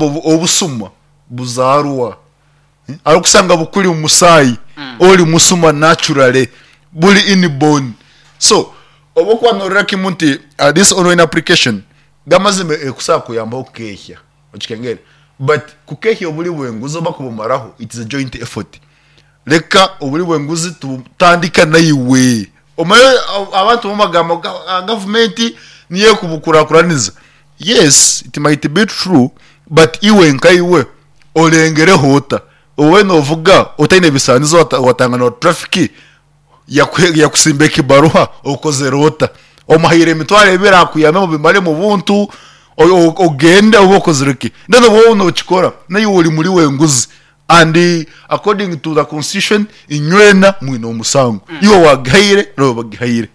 Obusuma buzaarwa. Arikusanga bukuri omu musaayi, ori musuma naturally, buri inborn. So obu orikuba noreebera kimwe nti this online application gamazima ekusobola kukuyambaho kukehya, okikengere? But kukehya oburi bw'enguzi oba kubumaraho it is a joint effort. Reka oburi bw'enguzi tubutandika naiwe. Omanye abantu bamwe bagamba ngu gavumenti niyo erikubukurakuraniza. Yes it might be true but iwe nkaiwe orengereho ota? Obe novuga otaine bisaanizo watangana na traffic yakusimba ekibaruha okozire ota? Omuhaire emitwaro ebiri akuyambe mubimare mubuntu ogende obe okozire ki? Then obu waaba nokikora naiwe ori muri w'enguzi and according to the constitution inywena mwine omusango iwe owagihaire n'ou bagihaire.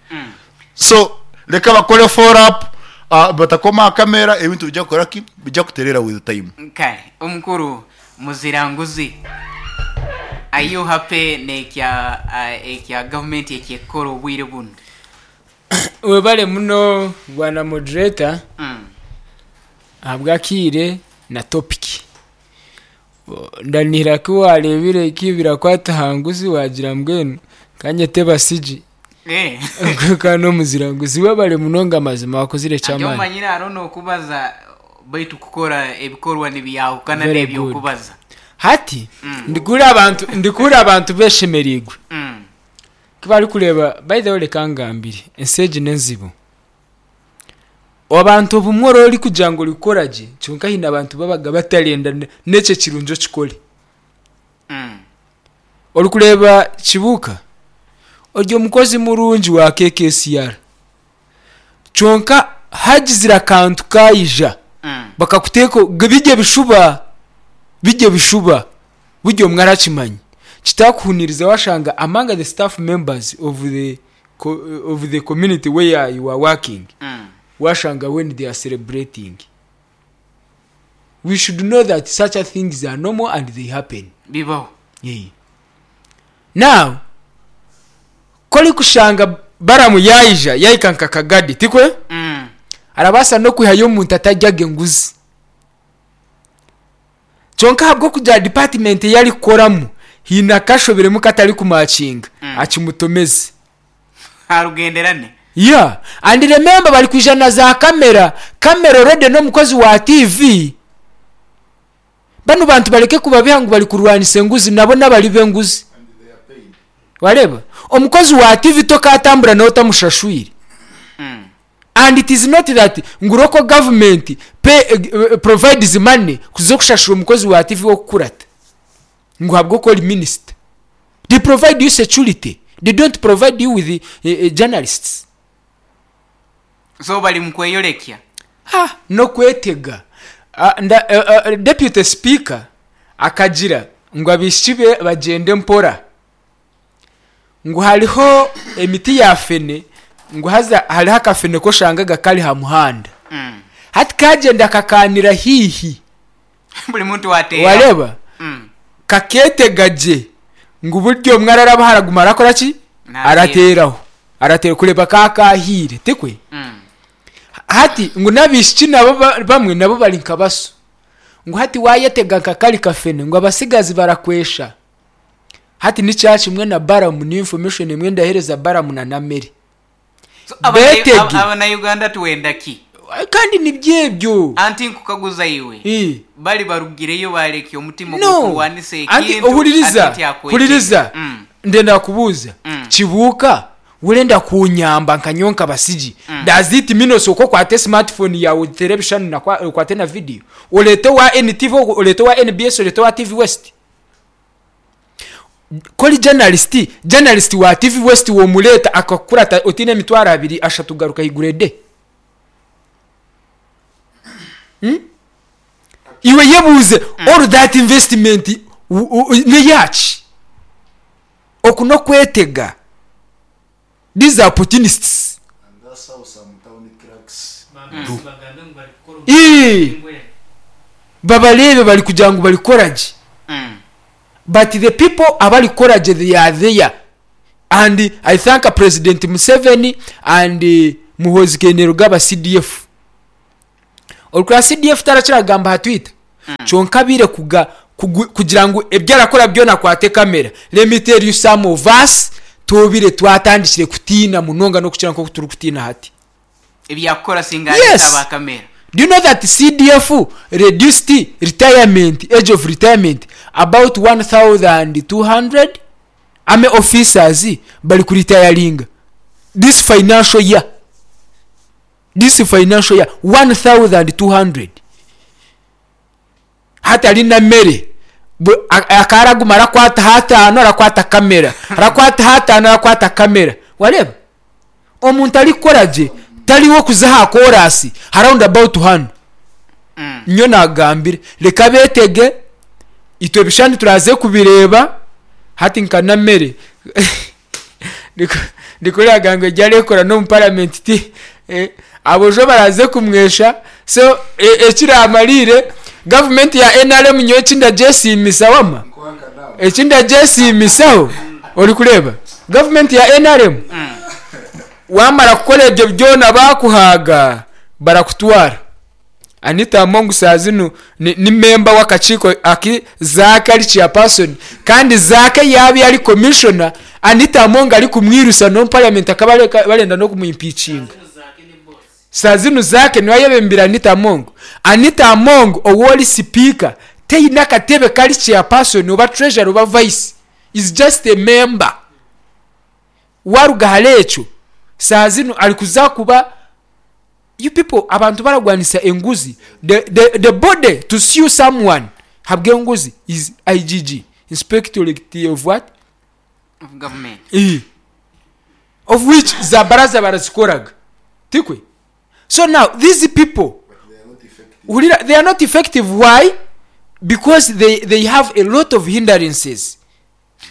So reka bakore follow up batakoma aha kamera ebintu bijja kukora ki? Bijja kuterera with time. Kare omukuru muzira nguzi are you happy nekya ekya gavumenti ekyekukora obwire bunu? Webale muno bwana moderator ahabw'akaire na topic. Ndanihira ku wareebire ku birakwata aha nguzi waagira mbwenu ka nyete Basigi ka n'omuzira nguzi. Webale munonga mazima wakozire Ati eky'amaani. omanyire hariho n'okubaza baitu kukora ebikorwa nibyahukana Very good. n'eby'okubaza. Hati ndikuhurira abantu ndikuhurira abantu beshemereirwe ku barikureeba by the way reka ngambire ensi egi n'enzibu. Abantu obumwe oraba orikugira ngu orikukora gye kwonka haine abantu babaga batarenda n'ekyo ekirungi okikore. Orikureeba Kibuuka ori omukozi murungi wa KKCR kwonka hagizire akantu kaija bakakuteeka biri ebishuba biri ebishuba buri omwe arakimanya kitakuhuniriza washanga among the staff members of the of the community where you are working washanga when they are celebrating we should know that such a things are normal and they happen. Bibaho. Yeah. Now ku orikushanga Balamu yaija yahika nka Kagadi tikwe? Arabaasa n'okwihayo omuntu ataryaga enguzi. Kyonka ahabw'okugira department ei arikukoramu haine akashobiremu katarikumakinga, akimutomeze. Arugenderane. Yeah and remember barikwija na za camera, camera already n'omukozi wa TV. Banu bantu bareke kubabiha ngu barikurwanisa enguzi nabo n'abari b'enguzi. Wareeba? Omukozi wa TV tokatambura nawe otamushashwire. And it is not that ngu local government pay, provides money kuza kushashura omukozi wa TV w'okukurata ngu ahabw'okuba ori minister. They provide you security, they don't provide you with journalists. So bari mukweyorekya. Ah, n'okwetega. Ah, nda, uh, uh, Deputy Speaker akagira ngu abaishiki be bagyende mpora. Ngu hariho emiti ya fene ngu haza hariho akafene k'oshangaga kari ha muhanda. Hati kagyenda kakaanira haihi. Buri muntu wateeraho. Wareeba? Kakeetega gye ngu buri omwe ararabaho araguma arakora ki? Naateera. Arateeraho. Arateera kureeba ka kaahiire, tikwe? Hati ngu n'abaishiki nabo bamwe nabo bari nka baso. Ngu hati waayetega nka kari kafene ngu abatsigazi barakwesha. Hati ni kyakimwe na Balamu ni information emwe ndahereza Balamu na Namere. So, Betege. Abanauganda twenda ki? Kandi nibyo ebyo. Anti nkukaguza iwe, Ii. bari barugireyo barekya omutima No. ogw'okurwanisa Anti ekintu ohuririza, ati tyakwetega. huririza. Ndenda kubuuza. Kibuuka, worenda kunyamba nka nyowe nka Basigi, does it mean osooke okwate smartphone yaawe oteere ebishushani na okwate na video, oreete owa NTV, oreete owa NBS, oreete owa TV West? Ku ori journalist, journalist wa TV West womureeta akakukurata otaine emitwaro abiri ashatu garuka ahaiguru ede? Hmm? Iwe yebuuze all that investment neyaki? Oku n'okwetega. These are opportunists. And that's how some town clerks do. Ii, babareebe bari kugira ngu barikukora gye but the people abarikukora gye they are there and I thank president Museveni and Muhoozi Kainerugaba CDF. Orikureba CDF tarakira kugamba aha twitter. Kyonka abaire kuga kugu kugira ngu ebi arakora byona akwate kamera. Let me tell you some of us twobire twatandikire kutiina munonga n'okukira nk'oku turikutiina hati. Ebyakukora singa areeta Yes! aba kamera. Do you know that CDF reduced retirement, age of retirement about 1200 army officers bari ku retiringa this financial year. This financial year 1200. Hatari na mere akaba araguma arakwata hataano arakwata kamera, arakwata hataano arakwata kamera. Wareeba? Omuntu arikukora gye tari w'okuza aha koraasi ha round about hanu. Nyowe naakugambire reka beetege, itwe ebishushani turaze kubireeba hati nka Namere Nikwo yagamba ngu egi arekora n'omu paramenti ti aboojo baraze kumwesha so ekiramarire gavumenti ya NRM nyowe eki ndagyesiimisa wama eki ndagyesiimisaho orikureeba gavumenti ya NRM wamara kukora ebyo byona bakuhaaga barakutwara. Anita Among shaaha zinu ni memba w'akakiiko aku Zaake ari chairperson kandi Zaake yaaba ari commissioner, Anita Among arikumwirusa n'omu parliament akaba barenda n'okumu impeachinga. Shaaha zinu Zaake niwe ayebembire Anita Among. Anita Among ou ori sipiika taine akatebe kari chairperson oba treasurer oba vice, is just a member. Waruga ahari ekyo, shaaha zinu arikuza kuba You people abantu baragwanisa enguzi the the the body to sue someone habwenguzi is IGG inspectorate of what? Of government. Eeh of which za baraza barazikoraga tikwe? So now these people hurira they are not effective why? Because they they have a lot of hindrances.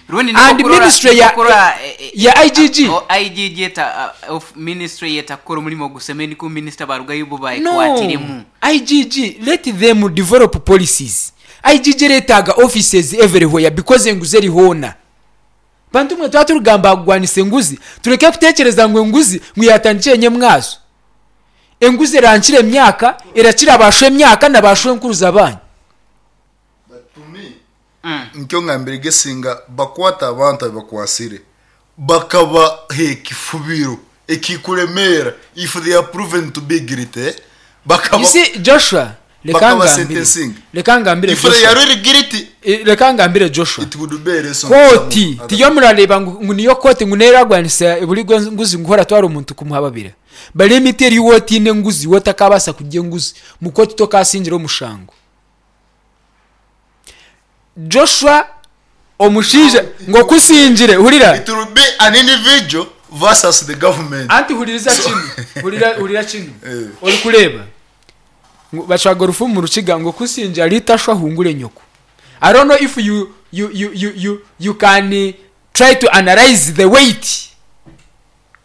Rundi And nikwo kurora ministry nikwo ya kurora ya IGG. IGG eta of ministry etakukora omurimo ogushemeire nikwo minisita barugayo bo No, baekwatiremu. IGG let them develop policies. IGG eretaaga offices everywhere because enguzi eri hoona. Bantu mwe twaba turikugamba aha kugwanisa enguzi, tureke kutekyereza ngu enguzi ngu yatandikire nyemwazo. Enguzi erankira emyaka, erakira ba shwemyaka na ba shwenkuruza banyu. But to me, nikyo ngambire ge singa bakwata abantu abibakwasire bakabaha ekifubiro ekikuremeera if they are proven to be guilty You bakaba see Joshua, reka bakaba ngambire, sentencing reka ngambire if they Joshua, are really guilty reka ngambire Joshua. it would be a lesson to some Kooti other tiyo murareeba ngu ngu niyo kooti ngu neeragwanisa buri nguzi ngu horatwara omuntu kumuhababira. Bari emiti eri waaba otaine nguzi, waaba otakaabaasa kurya enguzi, mu kooti tokaasingira omushango. Joshua omushaija ngu okusingire hurira. It will be an individual versus the government. Anti huririza kinu, hurira hurira kinu. Eh. Orikureeba ngu bacwaga orufumu omu Rukiga ngu okusingira ritashwa ahungure nyoko. I don't know if you you you you you you can try to analyse the weight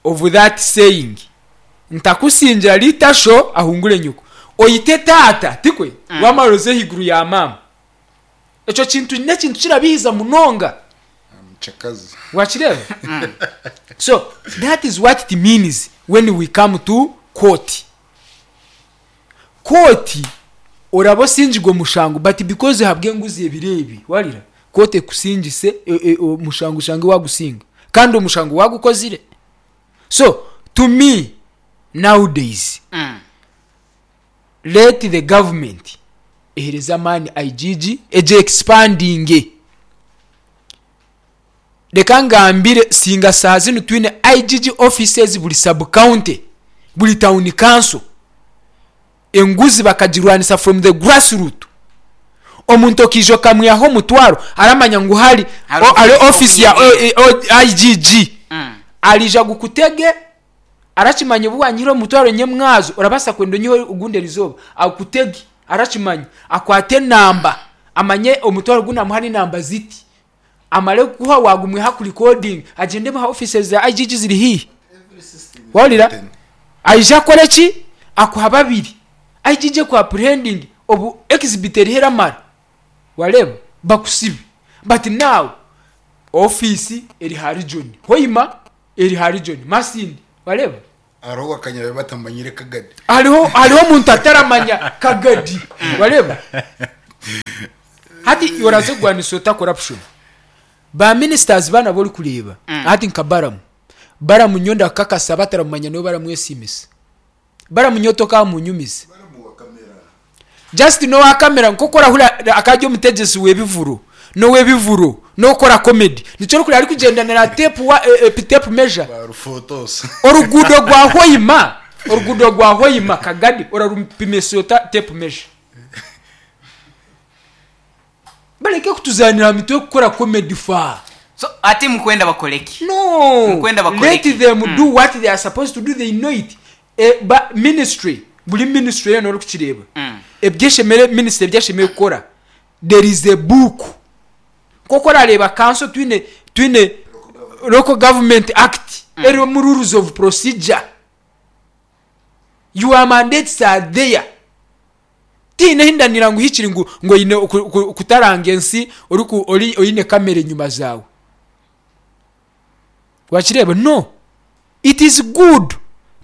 of that saying. Ntakusingira ritasho ahungure nyoko. Oite taata, tikwe? Wamara oze ahaiguru ya maama. Ekyo kintu n'ekintu kirabihiza munonga. Muchakazi. Wakireeba? So that is what it means when we come to court. Kooti oraba osingirwe omushango but because ahabw'enguzi ebiro ebi, wahurira? Kooti ekusingise omushango oshange waagusinga kandi omushango waagukozire. So to me nowadays let the government ehereze amaani IGG egye expandinge. Reka ngambire singa shaaha zinu twine IGG offices buri sub county, buri town council, enguzi bakagirwanisa from the grass root, omuntu okaija okamwihaho omutwaro aramanya ngu hari Hariho office ya IGG ariija agukutege arakimanya obu wanyihire omutwaro nyemwazo orabaasa kwenda onyiheho ogundi erizooba akutege arakimanya akwate enamba amanye omutwaro ogu namuha n'enamba ziti amare kukuha waagumwiha akurikodinge agyende aha offices za IGG ziri haihi wahurira aije akore ki akuha babiri IGG eku apprehendinge obu exhibit eriho eramara wareeba bakusibe but now office eri ha region Hoima eri ha region Masindi wareeba. Hariho owakanya batamanyire Kagadi. Hariho hariho omuntu ataramanya Kagadi wareeba. Hati iwe oraza kurwanisa ota corruption? Ba ministers banu abu orikureeba hati nka Balaam, Balaam nyowe ndakukakasa abataramumanya nibo baramwesiimisa. Balaam nyowe tokamunyumiza. Just n'owa camera nk'oku orahurira akaba ari omutegyesi w'ebivuro, n'ow'ebivuro, n'okukora comedy. Nikyo orikureeba arikugyendanira aha tape wa tape measure. Oruguudo rwa Hoima, oruguudo rwa Hoima Kagadi orarupimisa ota tape measure? Bareke kutuzaanira aha mitwe kukora comedy faa. So ati mukwenda bakore ki? No, Mukwenda bakore let ki? them do what they are supposed to do, they know it. E, ba ministry, buri ministry yoona orikukireeba, ebyeshemere ministry ebi eshemereire kukora, there is a book. Nk'oku orareeba kanso twine twine Local Government Act erimu rules of procedure. Your mandates are there. Tihaine ahi ndanira ngu hikiri ngu ngu oine kutaranga ensi oriku ori oine kamera enyima zaawe. Wakireeba? No. It is good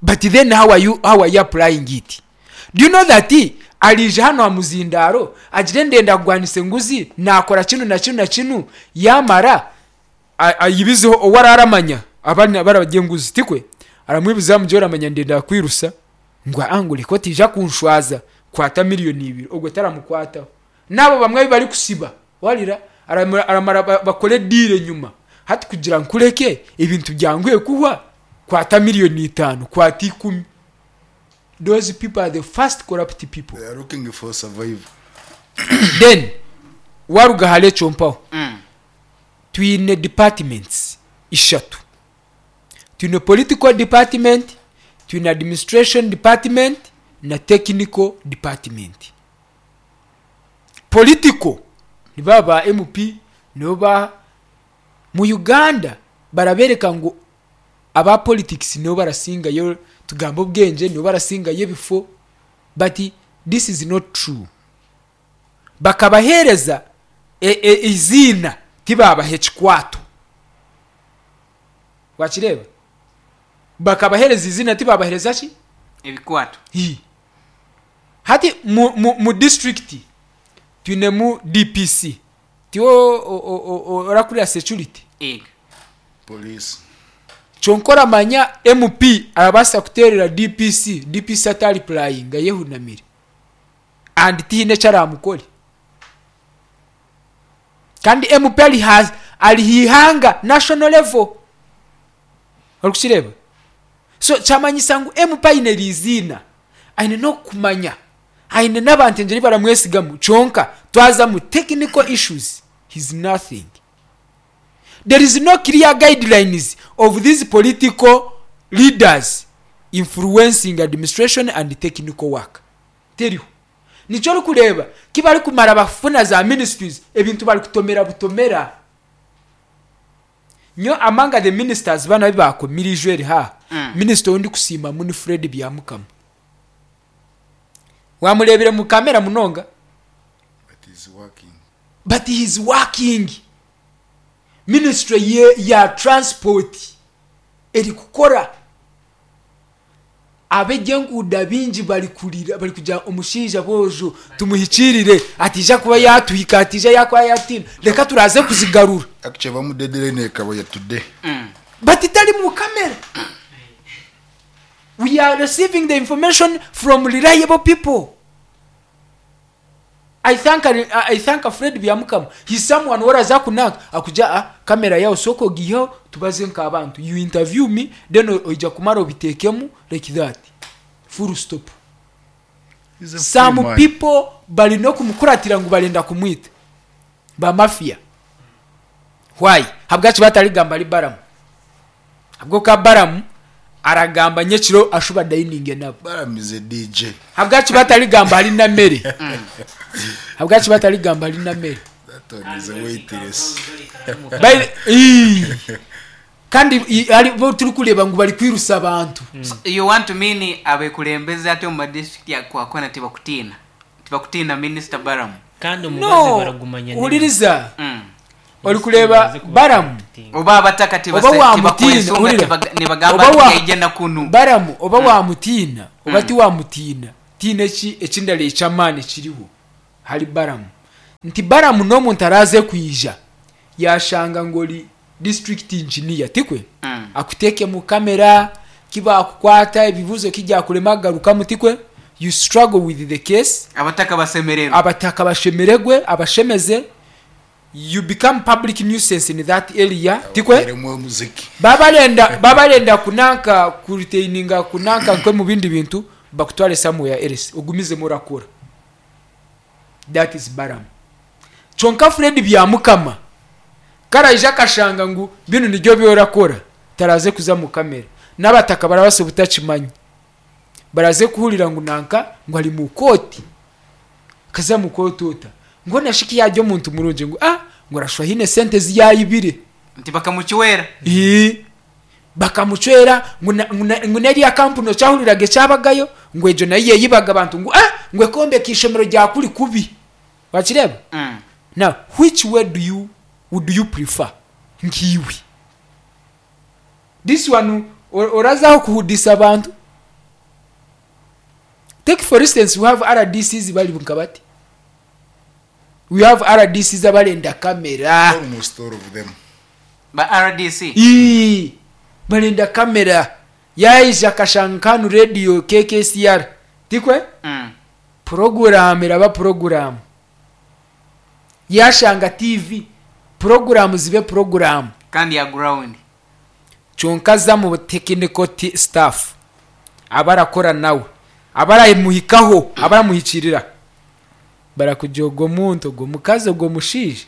but then how are you, how are you applying it? Do you know that ariija hanu aha muzindaaro agire ndenda kugwanisa enguzi naakora kinu na kinu na kinu yaamara ayibizeho ou araaramanya abari abararya enguzi tikwe? Aramwibizaho amugire oramanya ndenda kukwirusa ngu aa ngu reka otaija kunshwaza kwata miriyoni ibiri ogwo taramukwataho. N'abo bamwe abu barikusiba warira aramara bakore diiro enyima hati kugira nkureke ebintu byanguhe kuhwa kwata miriyoni itaano kwata ikumi. Those people are the first corrupt people. They are looking for survival. Then waruga ahari ekyo mpaho twine departments ishatu. Twine political department, twine administration department na technical department. Political nibo ba MP nibo ba mu Uganda barabereka ngu aba politics nibo barasingayo tugambe obwengye nibo barasingayo ebifo but this is not true. Bakabahereza eiziina tibabaha ekikwato. Wakireeba? Bakabahereza eiziina tibabahereza ki? Ebikwato. Hii. Hati mu, mu, mu disiturikiti twinemu DPC. Tiwe orakurira security? Ego. Police. Kyonka oramanya MP arabaasa kuteerera DPC, DPC ataripurayinga ayehunamire and tihaine eki araamukore. Kandi MP ari ha ari ha ihanga, national level. Orikukireeba? So kyamanyisa ngu MP aine eriiziina, aine n'okumanya, aine n'abantu engyeri ei baramwesigamu kyonka twaza omu technical issues, he is nothing. There is no clear guidelines of these political leaders influencing administration and technical work. Teriho. Nikyo orikureeba ku barikumara bafuna za ministries ebintu barikutomera butomera. Nyowe among the ministers banu abu baakomire eijo eri haaha, minisita ou ndikusiimamu ni Fred Byamukama. Waamureebire mu kamera munonga? But he's working. But he's working. Ministry ye ya transport erikukora. Ab'eby'enguudo abaingi barikurira barikugira omushaija boojo tumuhikiirire ataija kuba yaatuhika ataija yaakuba yaatiina reka turaaze kuzigarura. Actually bamu deadline ekaba ya today. But tari mu camera. We are receiving the information from reliable people. I thank I thank Fred Byamukama he's someone oraza kunanka akugira ah camera yawe sooka ogiiheho tubaze nk'abantu you interview me then oija kumara obitekemu like that full stop. He's a free Some man. people bari n'okumukuratira ngu barenda kumwita ba mafia why habwaki batarigamba ahari Balaam Ahabw'okuba Balamu aragamba nyekiro ashuba dayininge nabo. Balaam is a DJ. Ahabwaki batarigamba ahari Namere? Ahabwaki batarigamba ahari Namere? That one is a waitress. Bai- Ii. Kandi i- hari bo turikureeba ngu barikwirusa abantu. So, you want to mean abekulembeze ati omu madistrict akwakona tibakutiina? Tibakutiina Minisita Balamu? Kandi omubazi No, baragumanya nemi. huririza. Orikureeba Orikureeba Balamu, Oba abataka oba tibase waamutiina, tibakwesunga hurira, tibaga nibagamba oba ati wa yaija na kunu. Balamu oba waamutiina oba tiwaamutiina, tihaine eki ekindara eky'amaani ekiriho ahari Balamu. Nti Balaam n'omuntu araaze kwija yaashanga ngu ori district engineer, tikwe? Akuteekemu kamera, ki baakukwata, ebibuuzo ki byakurema kugarukamu, tikwe? You struggle with the case. Abataka bashemererwe. Abataka bashemeregwe, abashemeze. You become public nuisance in that area, tikwe? Abateeremu omuziki. Baabarenda, baabarenda kunanka, kuretaininga kunanka nk'omu bindi bintu, bakutware somewhere else, ogumizemu orakora. That is Balaam. Kyonka Fred Byamukama ku araije akashanga ngu binu nibyo ebi orakora, taraze kuza mu kamera. N'abataka barabaasa obutakimanya. Baraze kuhurira ngu nanka ngu ari mu kooti. Akaza mu kooti ota? Ngu hoona shi ku yaarya omuntu murungi ngu ah ngu arashusha haine esente ezi yaayibire. Nti bakamucwera. Ii. Bakamucwera ngu na, ngu na, ngu n'eriya kampuni okyahuriraga ekyabagayo ngu egyo nayo yeyibaga abantu ngu ah ngu ekombeka eishomero rya kuri kubi. Wakireeba? Now which way do you, would you prefer nk'iwe? This one oraza aho kuhudisa abantu? Take for instance we have RDCs bari nka bati. We have RDCs abarenda kamera. Almost all of them. Ba RDC. Ii, barenda kamera. Yaija akashanga nka hanu radio KKCR. Tikwe? Mm. Puroguraamu eraba puroguraamu. Yaashanga TV, puroguraamu zibe puroguraamu. Kandi ya ground. Kyonka aza mu technical staff, abarakora nawe, abaramuhikaho, abaramuhikirira, barakugira ogwo muntu, ogwo mukazi, ogwo mushaija,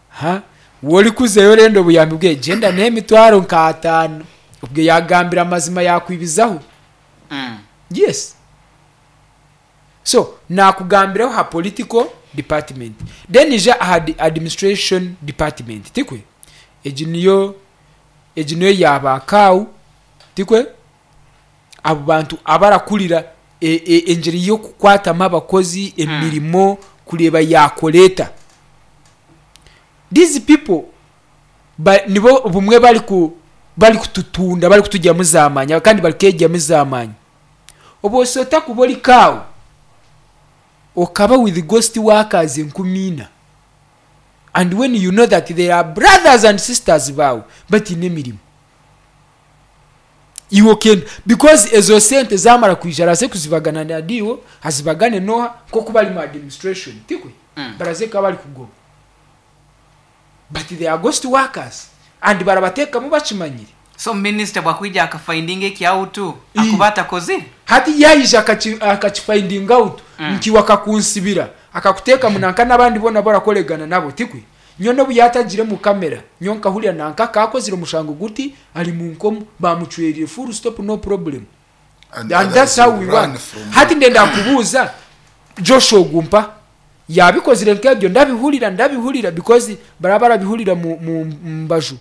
ha, waaba orikuzayo orenda obuyambi bwe, gyenda n'emitwaro nk'ataano. Obwo yaagambira amazima yaakwibizaho. Yes. So, naakugambiraho aha political department. Then ija aha administration department, tikwe? Egi niyo egi niyo ya ba kaawu, tikwe? Abo bantu abarakurira engyeri y'okukwatamu abakozi, emirimo, kureeba yaakora eta. These people ba nibo bumwe bariku barikututunda barikutugyamu zaamaani kandi barikegyamu zaamaani. Obu ota kuba ori kaawu okaba with ghost workers enkumiina and when you know that there are brothers and sisters baawe bataine emirimo iwe okenda because ezo sente zamara kwija araze kuzibagana na DO azibagane noha nkoku bari mu administration tikwe baraze kuba bari kugoba but they are ghost workers and barabatekamu bakimanyire. So minister bwakwija aka findinga eki out akuba atakozire? Hati yaija akaki akaki findinga out nkiwe akakunsibira akakutekamu nanka nabandi boona abu orakoregana nabo tikwe? Nyowe nobu yatagire mu camera nyowe nkahurira nanka akakozire omushango guti ari munkomo bamucwerire full stop no problem. And And that's others how will we run work. from Hati ndenda kubuuza Joshua ogu mpa yabikozire nk'ebyo ndabihurira ndabihurira because baraba barabihurira mu mu mbaju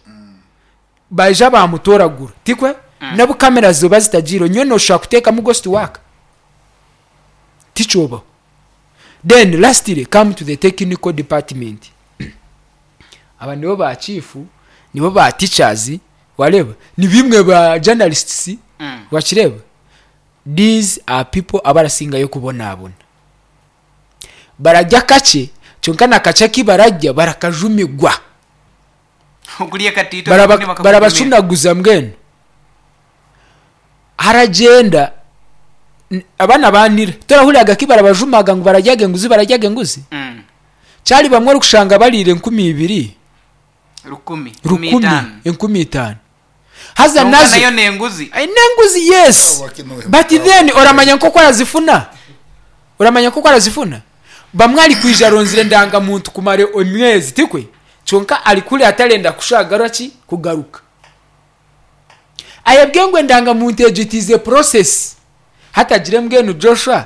baija bamutoragura tikwe n'obu kamera zoba zitagiireho nyowe noshusha kuteekamu ghost work tikyobaho then lastly come to the technical department aba nibo ba chief nibo ba teachers wareeba nibimwe ba journalists wakireeba these are people abarasingayo kubonabona bararya kakye kyonka na kakye aku bararya barakajumigwa Okurya katiito kandi bakakujumira. Barabacunaguza mbwenu haragyenda abaana banira torahuriraga ku barabajumaga ngu bararyaga enguzi bararyaga enguzi kyari bamwe orikushanga bariire 2000 Rukumi. Nkumi rukumi itaano. 5000 haza Kwonka nazo nayo n'enguzi. Ai, n'enguzi yes but then oramanya nk'oku arazifuna oramanya nk'oku arazifuna bamwe arikwija aronzire endangamuntu kumara emyezi tikwe kyonka arikuri atarenda kushagara ki kugaruka ayebwe ngu endangamuntu egyo it is a process hati agire mbwenu Joshua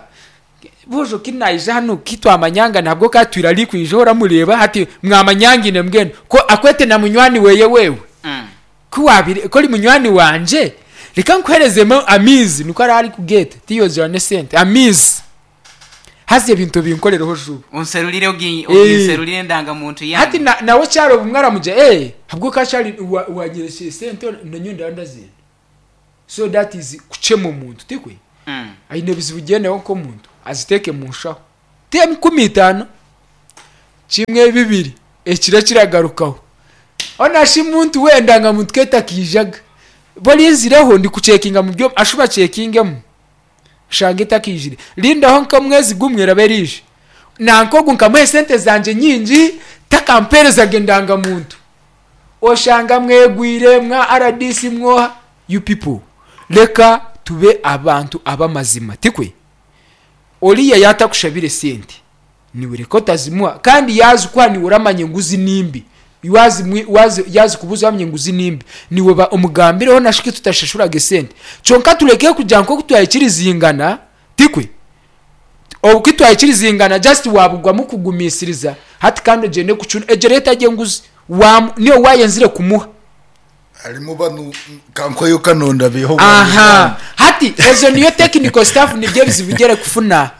Boojo ki naija hanu ki twamanyangana ahabw'okuba atwire arikwija oramureeba hati mwamanyangine mbwenu ku akwete na munywani weye wewe ku waabire ku ori munywani wangye reka nkuheerezemu amaizi nikwo araba arikugeeta tiyoogira n'esente amaizi haza ebintu obinkorereho juba. Onserurire ogi oginserurire endangamuntu Hati yange. na nawe kyari obumwe aramugira ee ahabw'okuba kyari wa wanyerekyera esente nanyowe ndaba ndazenda so that is kukyema omuntu tikwe? Aine ebizibu gyendaho nk'omuntu aziteeke mu nshaho. Ti 5000. Kimwe, bibiri, ekiro kiragarukaho. Hoona shi muntu we endangamuntu ku etakaijaga? Borinzireho ndikucekinga mu byoma, ashuba acekingemu ashange etakaijire. Rindaho nk'omwezi gumwe eraba eriija. Nanka ogu nkamuha esente zangye nyingi takampeerezaga endangamuntu. Oshanga mwegwire mwa rdc mwoha? You people, reka tube abantu ab'amazima, tikwe? Oriya yaatakushabire esente, niiwe reka otazimuha. Kandi yaazikuha niiwe oramanya enguzi nimbi. Yaazikubuuza oramanya enguzi nimbi. Niiwe ba omugambireho na shi ku tutashashuraga esente. Kyonka tureke kugira nk'oku twaikirizingana, tikwe? Obu ku twaikirizingana just waabugwamu kugumiisiriza, hati kandi ogyende kucuna, egyo reero etari enguzi. Waamu, niiwe waayenzire kumuha. Harimu banu kankweyo kano ndabiiha obwangu Aha, bwangu. hati ezo niyo technical staff nibyo ebizibu ebi erikufuna.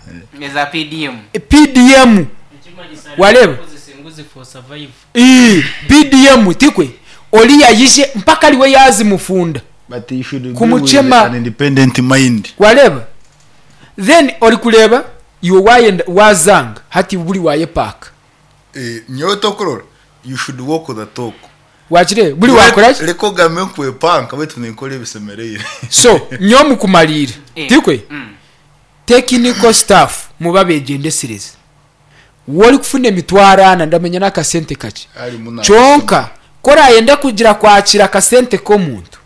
Eza PDM. PDM Ekimanyisa wareeba? arikukozesa enguzi for survival. Ii, PDM tikwe? Oriya yaije mpaka ariwe yaazimufunda But you should be with kumukyema. an independent mind. Wareeba? Then orikureeba iwe wayenda waazanga hati buri wayepaaka. Eh, nyowe tokurora you should walk the talk. Wakireeba? Buri waakora ki? Reka ogambe nkwepanka beitu ninkora ebisemereire. So, nyowe omu kumariira, Eh, tikwe? Technical staff mube abegyendesereza. Waaba orikufuna emitwaro ana, ndamanya n'akasente kakye. Harimu na Kyonka ku orayenda kugira kwakira akasente k'omuntu,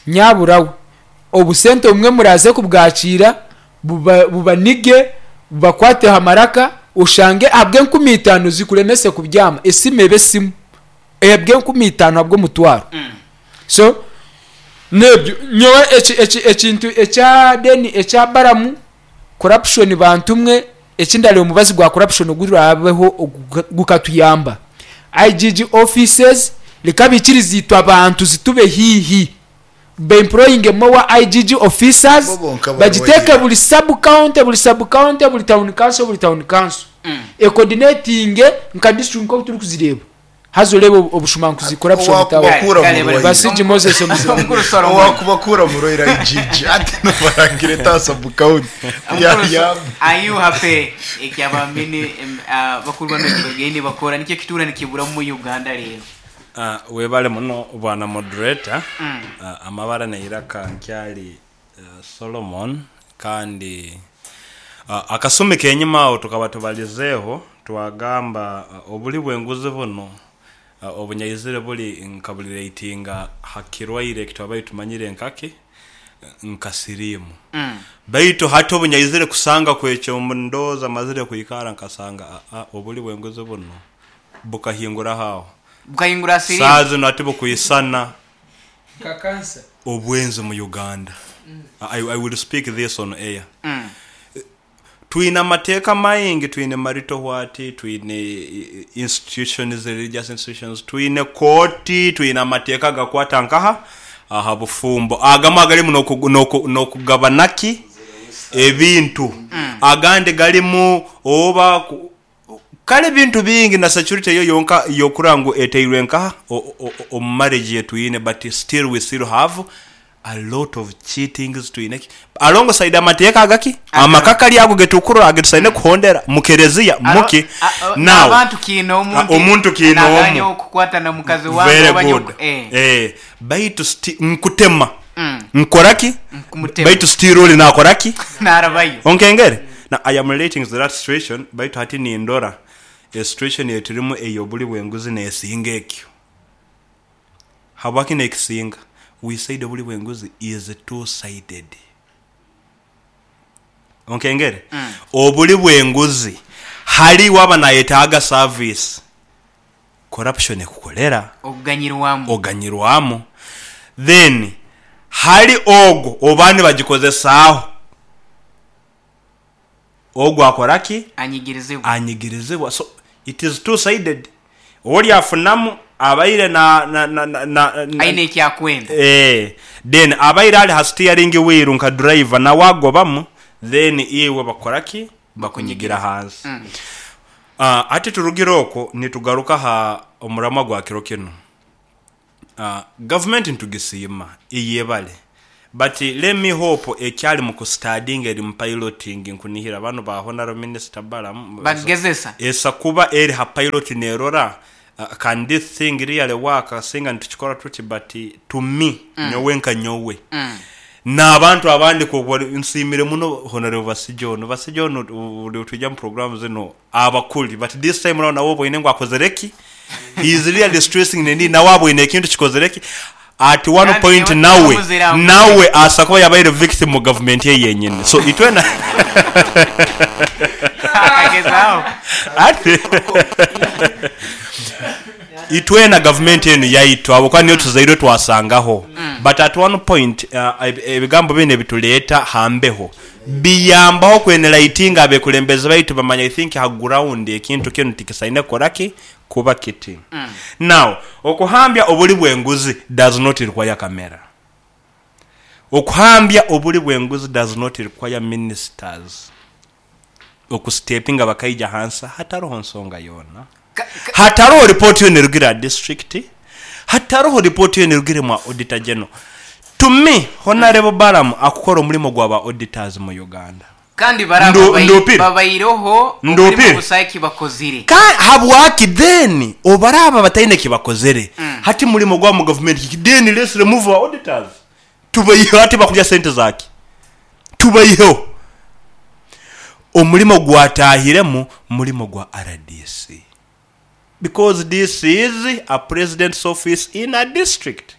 nyabura we, obusente obumwe muraaze kubwakiira buba bubanige, bubakwateho amaraka, oshange ahabw'enkumi itaano zikuremese kubyama, esimu ebe esimu. Ahabw'enkumi itaano ahabw'omutwaro. So, n'ebyo. Nyowe eki eki ekintu ekya then ekya Balamu, corruption bantu mwe, eki ndareeba omubazi gwa corruption oguraabeho gukatuyamba, IGG offices reka baikirize itwe abantu zitube haihi, ba employinge more IGG officers, Bo bonka bagiteeke barwaire. buri sub county, buri sub county, buri town council, buri town council, ecoordinatinge nka district nk'oku turikuzireeba. Haza oreebe obushumankuzi corruption Owakuba tawe. kuura Kale, murwaire. Basigi Moses omuzira. Omukuru Solomon. Owakuba kuura murwaire IGG ati nobarangire ta sub county. Ya Omukuru ya. Are you happy ekyaba mini bakuru banu ekibagiire nibakora nikyo ekituura nikiburamu mu Uganda reero. Webale muno bwana moderator. Amabara neiraka nkyali Solomon kandi akasumi kenyima aho tukaba tubalizeeho twagamba obuli bwenguzi bunu obunyaizire buli nka buliretinga ha kirwaire ekitwabaire tumanyire nkaki nka siriimu baitu hati obunyaizire kusanga kwekyo ndowooza mazire kwikara nkasanga obuli bwenguzi bunu bukahinguraho aho Bukahingura siriimu. Saaha zinu hati bukwisana Nka cancer. Obwenzi mu Uganda. I, I will speak this on air. Twine amateeka maingi, twine marital what, twine institutions, religious institutions, twine kooti, twine amateeka agakwata nkaha aha bufumbo. Agamwe agarimu n'okugabana ki ebintu, agandi garimu oba Kare ebintu bingi na security yo yonka yokurora ngu eteirwe nkaha omu marriage yetwine but still we still have a lot of cheatings twine ki alongside amateeka agaki amakakari ago getukurora agetusaine kuhondera mu kereziya muki now Abantu kiinoomu nti omuntu kiinoomu naganya okukwata na mukazi wange very oba good nyowe eh. eh baitu sti nkutema nkoraki Nkumutema. baitu still ori nakoraki Narabayo. Onkengere? Na I am relating to that situation baitu hati nindora e situation eyeturimu eyoburi bwenguzi nesinga ekyo. Habwaki nekisinga? We said oburi bwenguzi is two sided. Onkengere? Oburi bwenguzi hari waba nayetaaga service corruption ekukorera. Okuganyirwamu. Oganyirwamu. Then hari ogwo oba nibagikozesaaho ogwo akora ki? Anyigirizibwa. Anyigirizibwa. So it is two sided. Ori afunamu abaire na na na na na Aine eki akwenda. Eh, then abaire ari ha steering wheel nka driver nawe agobamu then iwe bakora ki? Bakunyigira ahansi. Hati turugire okwo nitugaruka aha omuramwa gwa kiro kinu. Gavumenti nitugisiima, eyebare. But let me hope ekyali mu kustadinga eri mu piloting nkunihira banu ba Honourable Minister Balaam Bakugezesa. esa kuba eri ha pilot nerora can this thing really work singa nitukikora tuti but to me nyowe nka nyowe n'abantu abandi ku nsiimire muno Honourable Basija onu. Basija onu buri twija mu program zinu aba kuri but this time round nawe oboine ngu akozire ki? He is really stressing the need nawe aboine ekintu kikozire ki? At one Kandi point nyowe nawe muzira ngu nawe asa kuba yabaire victim mu gavumenti ye yenyini so itwena akagezaho. Ati itwena gavumenti enu yaitu ahabw'okuba niyo tuzairwe twasangaho but at one point ebigambo binu ebitureeta ha mbeho biyambaho ku enlightinga abekulembezi baitu bamanya I think ha ground ekintu kinu tikisaine kukora ki? Kuba kiti. Now okuhambya obuli bw'enguzi does not require camera. Okuhambya obuli bw'enguzi does not require ministers okusitepinga bakaija hansi hataroho nsonga yoona. Hataroho report yoona erugire aha district, hataroho report yoona erugire mwa Auditor General. To me, Honarebo Balaam akukora omurimo gwa ba auditors mu Uganda. Kandi bari Nduupire. babaireho omurimo Nduupire. busaho eki bakozire. Ka habwaki then obaraaba bataine eki bakozere hati murimo gwabo mu gavumenti kiki? Then let's remove our auditors tubaiheho hati bakurya sente zaki? Tubaiheho. Omurimo gwatahiremu murimo gwa rdc because this is a president's office in a district.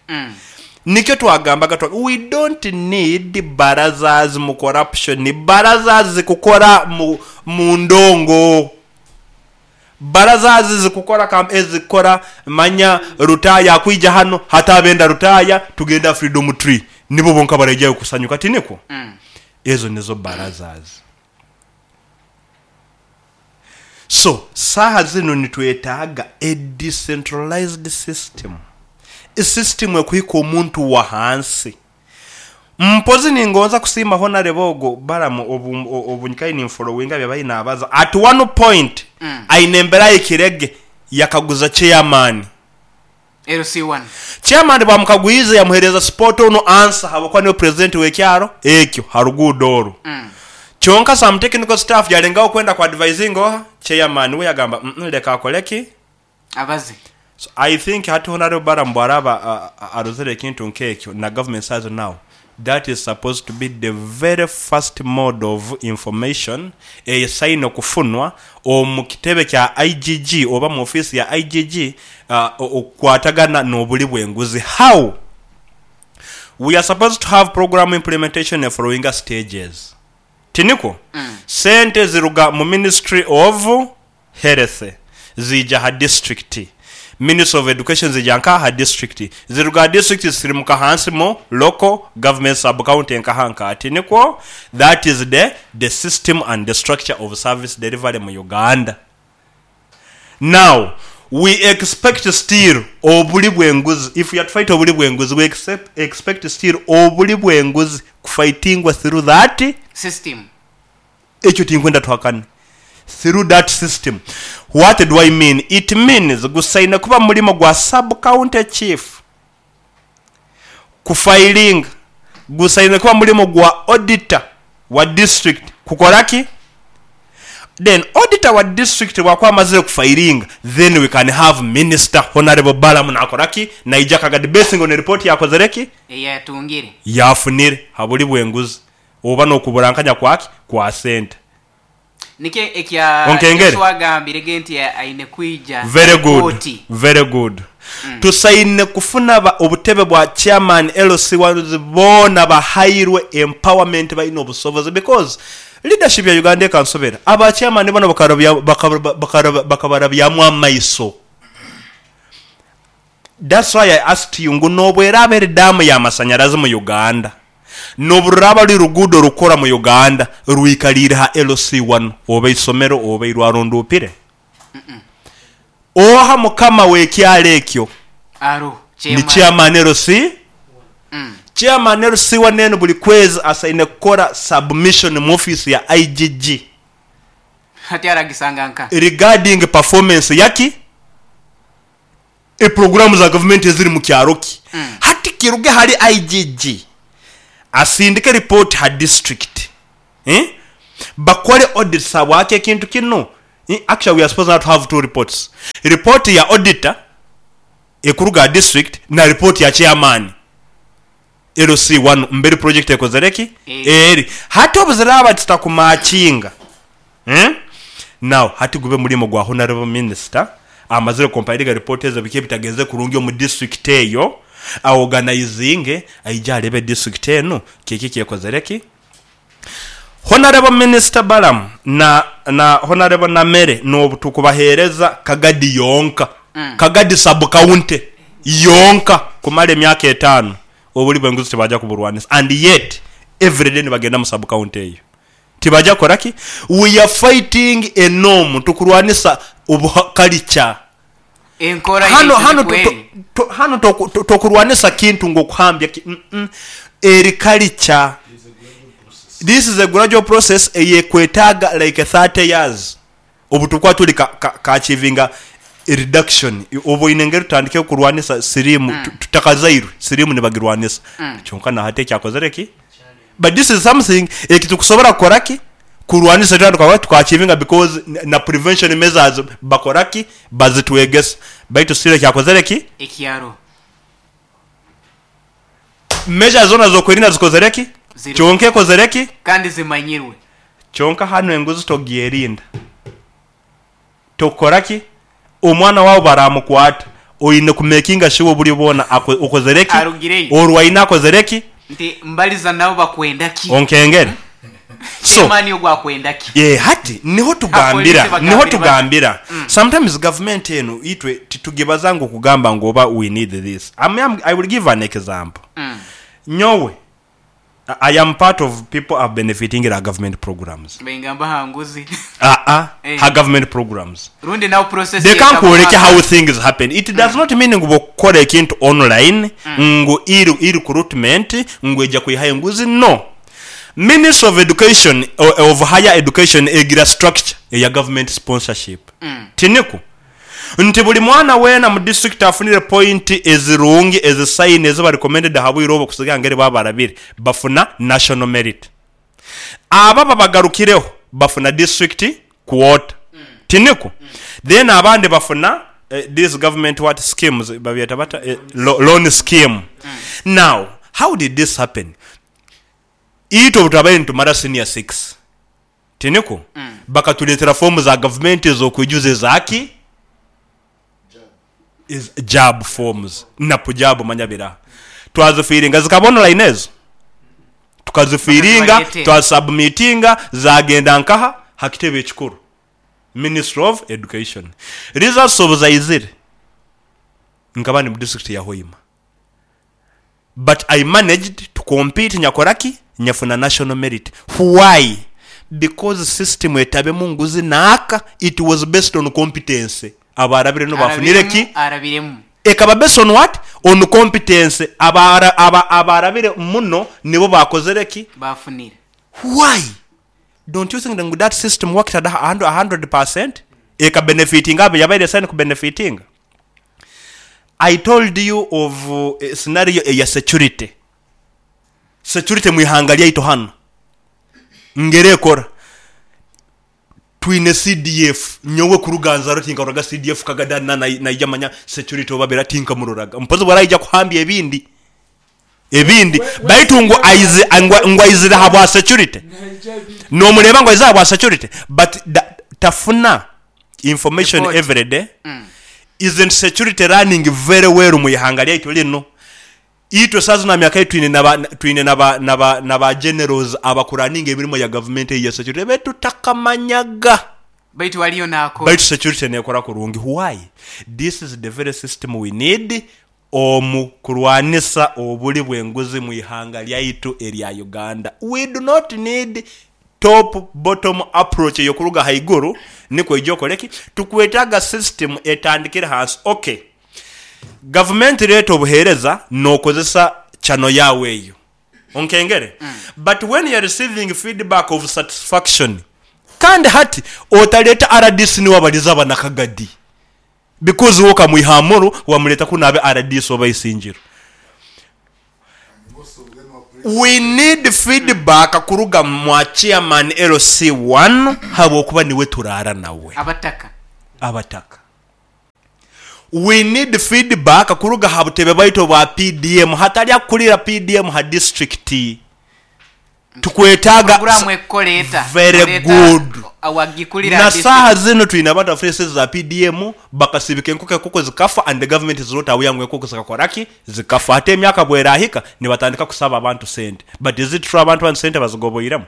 Nikyo twagambaga twa we don't need barazas mu corruption, barazas zikukora mu mu ndongo. Barazas zikukora kam ezikukora manya Lutaaya akwija hano hati abenda Lutaaya tugende aha Freedom Tree nibo bonka baraijayo kusanyuka tinikwo? Ezo nizo barazas. So saaha zinu nitwetaaga a decentralized system, system ekuhika omuntu wahansi. Mpozi ningonza kusiima Honarebo ogu Balaam obu obu nyikaire ninfollowinga byabaire nabaza, at one point aine embera ahikirege yakaguza chairman. LC1. Chairman bwamukagwize yamuhereza spot on answer habwokuba niwe president wekyaro ekyo haruguudo oru. Kyonka some technical staff yalengaho kwenda ku advisinga oha? Chairman we yagamba mm leka akole ki? Abaze. So I think hati Honarebo Balaam bwaraba arozire ekintu nkekyo na government says now that is supposed to be the very first mode of information esaine kufunwa omu kitebe kya IGG oba mu office ya IGG okukwatagana nobuli bwenguzi. How? We are supposed to have program implementation efollowinga stages. Tinikwo? Sente ziruga mu ministry of Health ziija ha district, Ministry of Education ziija nka ha district, ziruga ha district zisirimuka hansi mu local government sub county nkaha nka tinikwo? That is the the system and the structure of service delivery mu Uganda. Now we expect still obuli bwenguzi, if we are to fight obuli bwenguzi we expect still obuli bwenguzi kufightingwa through that System. Ekyo tinkwenda tuhakane. Through that system. What do I mean? It means gusaine kuba mulimo gwa sub county chief kufayilinga, gusaine kuba mulimo gwa auditor wa district kukora ki? Then auditor wa district bwakuba amazire kufayilinga then we can have minister Honourable Balaam nakora ki? Naija akaga basing on report yakozire ki? Eyatungire. Yafunire habuli bwenguzi. Oba n'okuburankanya kwaki? Kwa sente. Nikyo ekya Onkengere? Yesu agambire ge nti aine kwija Very good, oti. very good. Tusaine kufuna ba obutebe bwa chairman, LC ones boona bahairwe empowerment baine obusobozi because leadership ya Uganda ekansobera. Aba chairman boona bakarabya bakabarabyamu amaiso. That's why I asked you ngu nobweraaba eri daamu ya masanyarazi mu Uganda, nobururaaba ruri ruguudo rukukora mu Uganda rwikariire ha LC wanu oba eisomero oba eirwaro nduupire? Oha mukama w'ekyaro ekyo? Aroho Ni chairman. chairman LC? Chairman LC wanu enu buri kwezi asaine kukora submission mu ofiisi ya IGG. Hati aragisanga nka? Regarding performance yaki? Epuroguraamu za gavumenti eziri mu kyaro ki. Hati kiruge ahari IGG. Asindike report ha district eh bakore audits habwaki ekintu kinu eh actually we are supposed now to have two reports report ya auditor ekuruga ha district na report ya chairman LC1 mberi project ekozere ki eri hati obuziraba zitakumatchinga eh now hati gube murimo gwa honourable minister amazire compilinga report ezo biki ebitagenze kurungi omu district eyo a organizinge aije arebe district enu kiki ekyekozere ki Honourable Minister Balaam na na Honourable Namere nobu tukubahereza Kagadi yonka, Kagadi sub county yonka kumara emyaka etano obuli bwenguzi tibaja kuburwanisa and yet everyday nibagenda mu sub county eyo tibaja kukora ki? We are fighting a norm tukurwanisa obuha culture. Enkora Hano yaitu hano nikwo eri. hano tokurwanisa kintu ngu okuhambya ki mm eri culture. This is a gradual process eyekwetaaga like 30 years obu tukuba turi ka ka achievinga reduction obu oine engeri tutandike kurwanisa siriimu tutakazairwe siriimu nibagirwanisa kyonka nahati ekyakozire ki but this is something ekitukusobora kukora ki kurwanisa twena tukaba tuka achievinga because na prevention measures bakora ki bazitwegesa baitu still ekyakozire ki Ekyaro. Measures zoona z'okwerinda zikozire ki? Ziriho. Kyonka ekozire ki? Kandi zimanyirwe. Kyonka hanu enguzi togyerinda. Tokukora ki? Omwana waawe baramukwata, oine ku makinga sure oburyo bwona okozire ki? Arugireyo. Orwaine akozire ki? Nti mbaliza nabo bakwenda ki? Onkengere. So, Chairman ogu akwenda ki? Eh, hati niho tugambira, Apolisi bagambire niho bata? tugambira. Sometimes government enu itwe titugibaza ngu kugamba ngu oba we need this. I'm, I'm, I will give an example. Nyowe, I am part of people are benefiting ha government programs. Baingamba ha nguzi. Aa, Eh. ha government programs. Rundi nawe process Leka yekaba nkwoleke mwaka. how things happen. It does not mean ngu bwokukora ekintu online ngu e-recruitment ngu eja kwihayo enguzi, no. Ministry of Education of Higher Education egira structure eya government sponsorship. Tiniku? Nti buli mwana weena mu district afunire point ezirungi ezisaine eziba recommended aha bwire obwo kusiga ngeri baba barabire bafuna national merit. Ababa bagarukireho bafuna district quota. Tiniku? Then abandi bafuna these government what schemes babyeta bata loan scheme. Now how did this happen? Itwe obutwabaire nitumara senior six, tinikwo? Bakatureetera foomu za gavumenti ez'okwijuza eza ki? Eza JAB forms na PUJAB manya biraha. Twazifiiringa zikaba online ezo? Tukazifiiringa, Bakazibareetera. twasubmitinga, zaagenda nkaha? Ha kitebe ekikuru, Ministry of Education. Results obu zaizire, nkaba ndi mu disiturikiti ya Hoima. But I managed to compete nyakora ki? Nyafuna national merit. Why? Because system etabemu nguzi naaka, it was based on competence. Abaarabire no baafunire ki? Arabiremu, arabiremu. Ekaba based on what? On competence. Abaara, aba, abaarabire muno nibo baakozire ki? Baafunire. Why? Don't you think ngu that system worked at a 100%? Eka benefitinga abo yabaire esaine kubenefitinga? I told you of scenario eya security. Security mu ihanga lyaitu hanu ngeri ekora. Twine CDF, nyowe kuruga nzarwa tinkaroraga CDF Kagada na naija manya security obu abaire tinkamuroraga. Mpozi bwaraija kuhambya ebindi ebindi baitu ngu aize ngu aizire ahabwa security. Nomureeba ngu aizire ahabwa security but tafuna information Report. everyday. Isn't security running very well mu ihanga lyaitu linu? Itwe saaha zinu aha myaka ei twine naba twine naba naba naba generals abakuraninga emirimo ya gavumenti eyi ya security betutakamanyaga. Baitu waliyo nakora. Baitu security nekora kurungi. Why? This is the very system we need omu kurwanisa obuli bw'enguzi mu ihanga lyaitu erya Uganda. We do not need top bottom approach ey'okuruga haiguru nikwo oije okole ki? Tukwetaaga system etandikire hansi. Ok, gavumenti reeta obuheereza n'okozesa channel yaawe eyo, onkengere? But when you're receiving feedback of satisfaction, kandi hati otaleeta rdc niwe abaliza abanakagadi because iwe okamwiha Amuru wamureeta kunu abe rdc oba Isingiro. We need feedback kuruga mwa chairman LC1 habwokuba niwe turaara nawe. Abataka. Abataka. We need feedback kuruga ha butebe bwaitu obwa PDM hatari akukurira PDM ha district. Tukwetaaga Puroguramu ekukora eta? Very Oleeta good. awagikurira Na ha saaha district. zinu twine abantu abafunire esente za PDM bakasibika enkoko enkoko zikafa and the government is not aware ngu enkoko zikakora ki? Zikafa. Hati emyaka bwerahika nibatandika kusaba abantu sente but is it true abantu banu sente bazigoboiremu?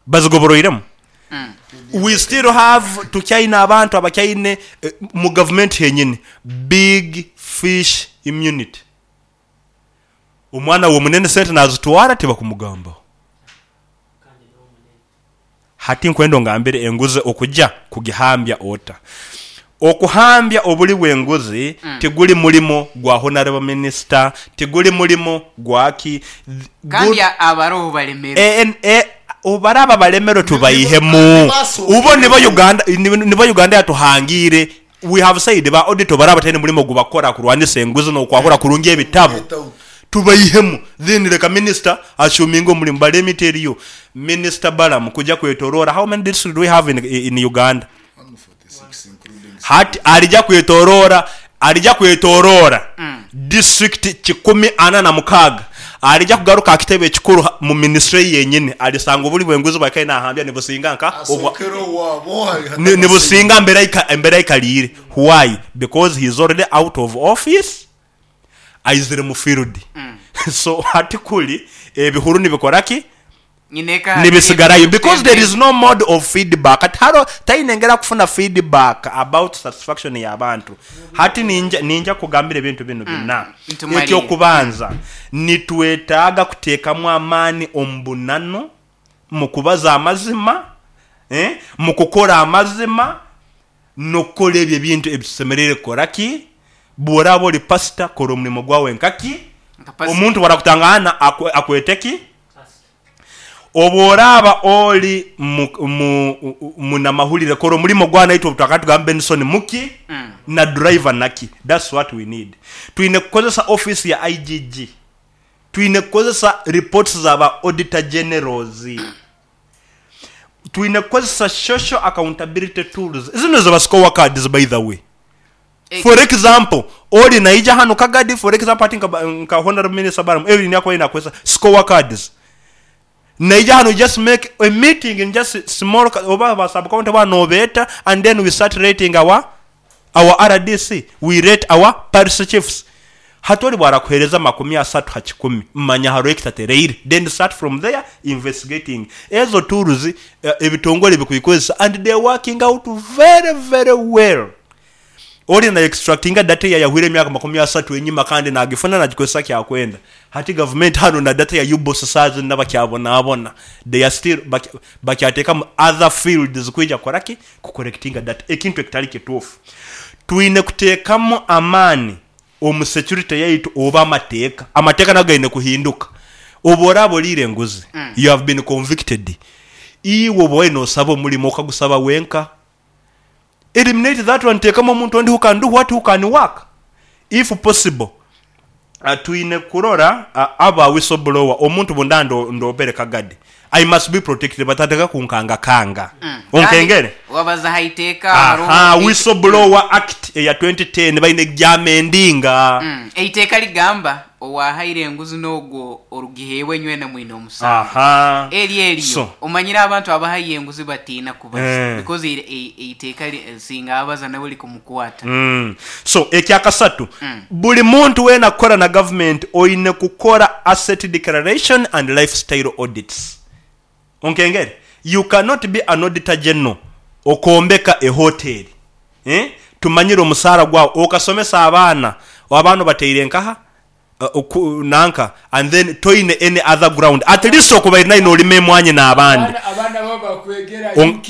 Bazigoboroiremu? We still have tukyaine abantu abakyaine mu government henyini big fish immunity. Omwana w'omunene sente nazitwara tibakumugambaho. Hati nkwenda ongambire enguzi okuja kugihambya ota? Okuhambya obuli bw'enguzi tiguli mulimo gwa Honarebo Minisita, tiguli mulimo gwa ki. Kandi abaroho balemerwe. Obu baraaba balemerwe tubaihemu. Ubo nibo Uganda, nibo Uganda yatuhangiire. We have said ba auditor baraaba bataine mulimo gubakora kurwanisa enguzi n'okwahura kurungi ebitabo, tubaihemu. Then leka Minisita assuminge omulimo. But let me tell you, Minisita Balaam kuja kwetoroora, how many districts do we have in Uganda? Hati arija kwetoroora, arija kwetoroora district 406, arija kugaruka aha kitebe ekikuru mu ministry yenyini, arisanga oburi bw'enguzi bwakaire nahambya nibusinga nka obwa nibusinga embera aikariire. Why? Because he is already out of office, aizire mu field. So hati kuri ebihuru nibikora ki? Nibisigarayo because there is no mode of feedback. Tihariho, taine ngeri akufuna feedback about satisfaction y'abantu. Hati ninja, ninja kugambira ebintu binu bina. Eky'okubanza, nitwetaaga kuteekamu amaani omu bunanu, mu kubaza amazima, mu kukora amazima, n'okukora ebyo ebintu ebi tusemereire kukora ki? Bw'oraaba ori pasita, kora omurimo gwawe nka ki? Omuntu bw'arakutangaana akwete ki? Obu oraaba ori munamahurire, kora omurimo gwawe naitwe obu twakaba nitugamba Benson muki na driver naki. That's what we need. Twine kukozesa office ya IGG. Twine kukozesa reports za ba Auditor Generals. Twine kukozesa social accountability tools. Zinu ziba score cards by the way. For example, ori naija hanu Kagadi, for example hati nka Honourable Minister Balaam, Evelyn yakubaire nakozesa score cards. Naija hanu just make a meeting in just small oba ba sub county boona nobeeta and then we start rating our our RDC, we rate our parish chiefs. Hati ori bwarakuhereza 30 ha kikumi, manya hariho ekitatereire then start from there investigating. Ezo tools ebitongore bikubikozesa and they working out very very well. Ori na extractinga data eyayahwire emyaka 30 enyima kandi nagifuna nagikozesa kyakwenda. Hati gavumenti hanu na data ya UBOS saaha zinu bakyabonabona. They are still bakyatekamu other fields kwija kukora ki? Ku collectinga data. Ekintu ekitari kituufu. Twine kuteekamu amaani omu security yaitu oba amateeka. Amateeka nago gaine kuhinduka. Obu oraaba oriire enguzi, you have been convicted, iwe oba waine nosaba omurimo okagusaba wenka. Eliminate that one teekamu omuntu ondi who can do what, who can work. If possible, twine kurora aba whistle blower, omuntu bundaba ndoobere Kagadi, I must be protected batatandika kunkangakanga. Onkengere? Kandi wabaza aha iteeka Aha, hariho Whistle Blower Act eya 2010 baine kugyamendinga. Eiteeka ligamba owahaire enguzi n'ogwo orugiheebwa nywena mwine omusango. Aha. Eryo eryo So. omanyire abantu abahayo enguzi batiina kubaza because eiteeka singa abaza nawe likumukwata. So, ekyakasatu, buri muntu weena kukora na gavumenti oine kukora asset declaration and lifestyle audits. Onkengere? You cannot be an auditor general okombeka ehoteri, eh, tumanyire omusaara gwawe, okasomesa abaana, abaana obateire nkaha? Nanka and then toine any other ground at least okubaire naye nolima emwanyi nabandi.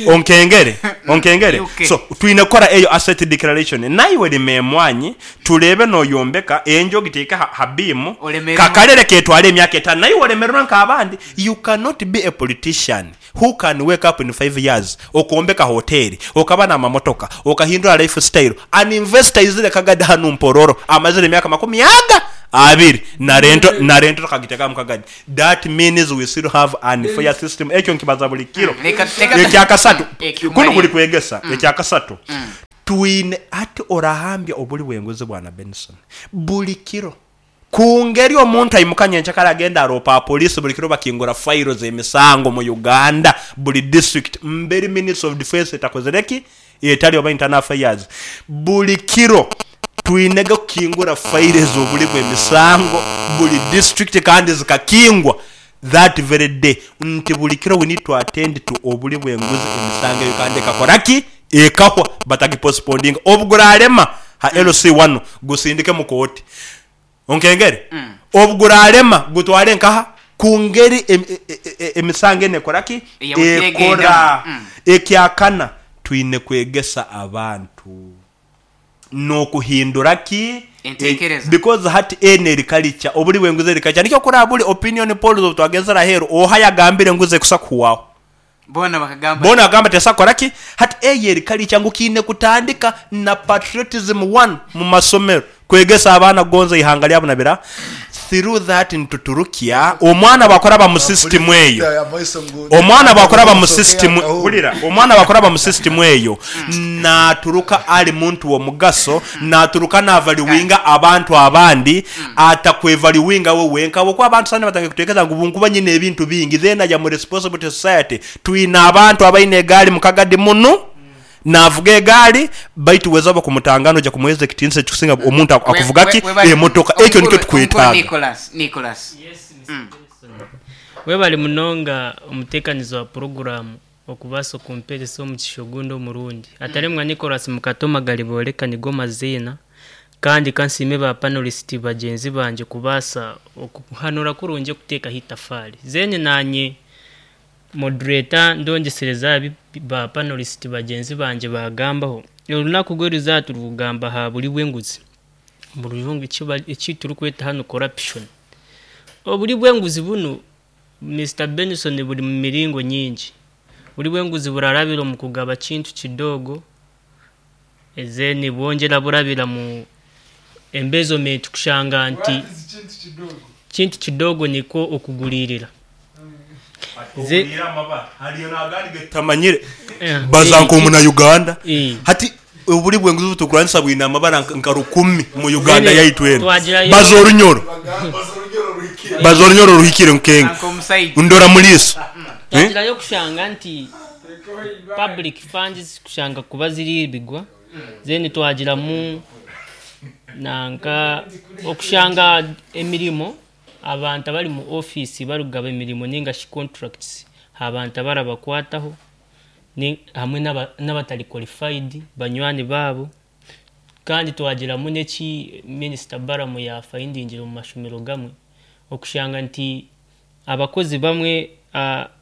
Onkengere onkengere so twine kukora eyo asset declaration naiwe lima emwanyi tureebe noyombeka enju ogiteeke ha beam kakarere ketware emyaka etano naiwe oremererwe nkabandi you cannot be a politician Who can wake up in five years okombeka hoteri, okaba n'amamotoka, okahindura life style, an investor aizire kagadi hanu Mpororo amazire emyaka makumi aga Abiri na rento na rento tukagiteka mukagadi that means we still have unfair system ekyo nkibaza buli kiro. Leka leka Ekyakasatu ekyo kunu kuli malire. kwegesa ekyakasatu twine hati orahambya obuli bwenguzi bwana Benson buli kiro kungeri omuntu aimuka nyenkyakare agenda aropa aha police buli kiro bakingura fayiro zemisango mu Uganda buli district mberi ministry of defence etakozire ki etari oba internal affairs buli kiro Twine ge kukingura fayiro ez'oburi bw'emisango buri disiturikiti kandi zikakingwa that very day nti buri kiro we need to attend to oburi bw'enguzi emisango eyo kandi ekakora ki? Ekahwa batagiposiponinga. Obu gurarema ha LC wanu gusindike mu kooti. Onkengere? Obu gurarema gutware nkaha? Ku ngeri emisango enu ekora ki? Eyabukire Ekora. egendamu. Ekyakana, twine kwegesa abantu. N'okuhindura ki? Entekereza. Because hati enu eri kalica, oburi bw'enguzi eri kalica. Nikyo kuraba buri opinion polls obu twagenzire aheeru, oha yagambire enguzi ekusa kuhwaho? Boona bakagamba Boona bakagamba tesa kukora ki? Hati eyo eri kalica ngu kiine kutandika na patriotism one mu masomero, kwegesa abaana kugonza eihanga ryabo na bira. Through that nituturukya omwana bwakuraba mu system eyo, omwana bwakuraba mu system, hurira, omwana bwakuraba mu system eyo, naturuka ari muntu w'omugaso, naturuka navaluwinga abantu abandi, atakwevaluwinga we wenka ahabw'okuba abantu saha enu batandikire kutekereza ngu bunkuba nyine ebintu bingi then I am responsible to society. Twine abantu abaine egaari mukagadi munu, Naavuga egaari, baitu weza oba kumutangana oija kumuheereza ekitiinisa ekikusinga omuntu akuvuga ki? Emotoka. Ekyo nikyo tukwetaaga. Nicholas, Nicholas. Yes, Mister Benson. Webale munonga omuteekanizi wa puroguraamu okubaasa okumperesa omugisha ogundi omurundi. Ataremwa Nicholas Mukatoma Garibooreka nigo maziina kandi ka nsiime ba panelists bagyenzi bangye kubaasa okuhanura kurungi okuteekaho eitafaari. Then naanye Moderator, Ndongyesereza aha bi ba panelist bagyenzi bangye baagambaho. Orunaku rw'erizooba turikugamba aha buri bw'enguzi, omu rujungu eki turikweta hanu corruption. Oburi bw'enguzi bunu Mister Benson buri mu miringo nyingi. Oburi bw'enguzi burarabira omu kugaba kintu kidogo, then bwongyera burabira mu embezzlement kushanga nti kintu kidogo nikwo okuguriirira. Tutamanyire baza nk'omuna Uganda hati oburi bw'enguzi obu turikurwanisa bwine amabara nka rukumi mu Uganda yaitu enu. Baza orunyoro, baza orunyoro oruhikire nkenga ndora mu riiso. Twagirayo kushanga nti public funds kushanga kuba ziriibigwa then twagiramu nanka okushanga emirimo abantu abari mu ofiisi barikugaba emirimo ninga shi contracts abantu abarabakwataho hamwe n'abatari qualified banywani baabo kandi twagiramu n'eki minisita Balaam yaafayindingire omu mashomero gamwe okushanga nti Abakozi bamwe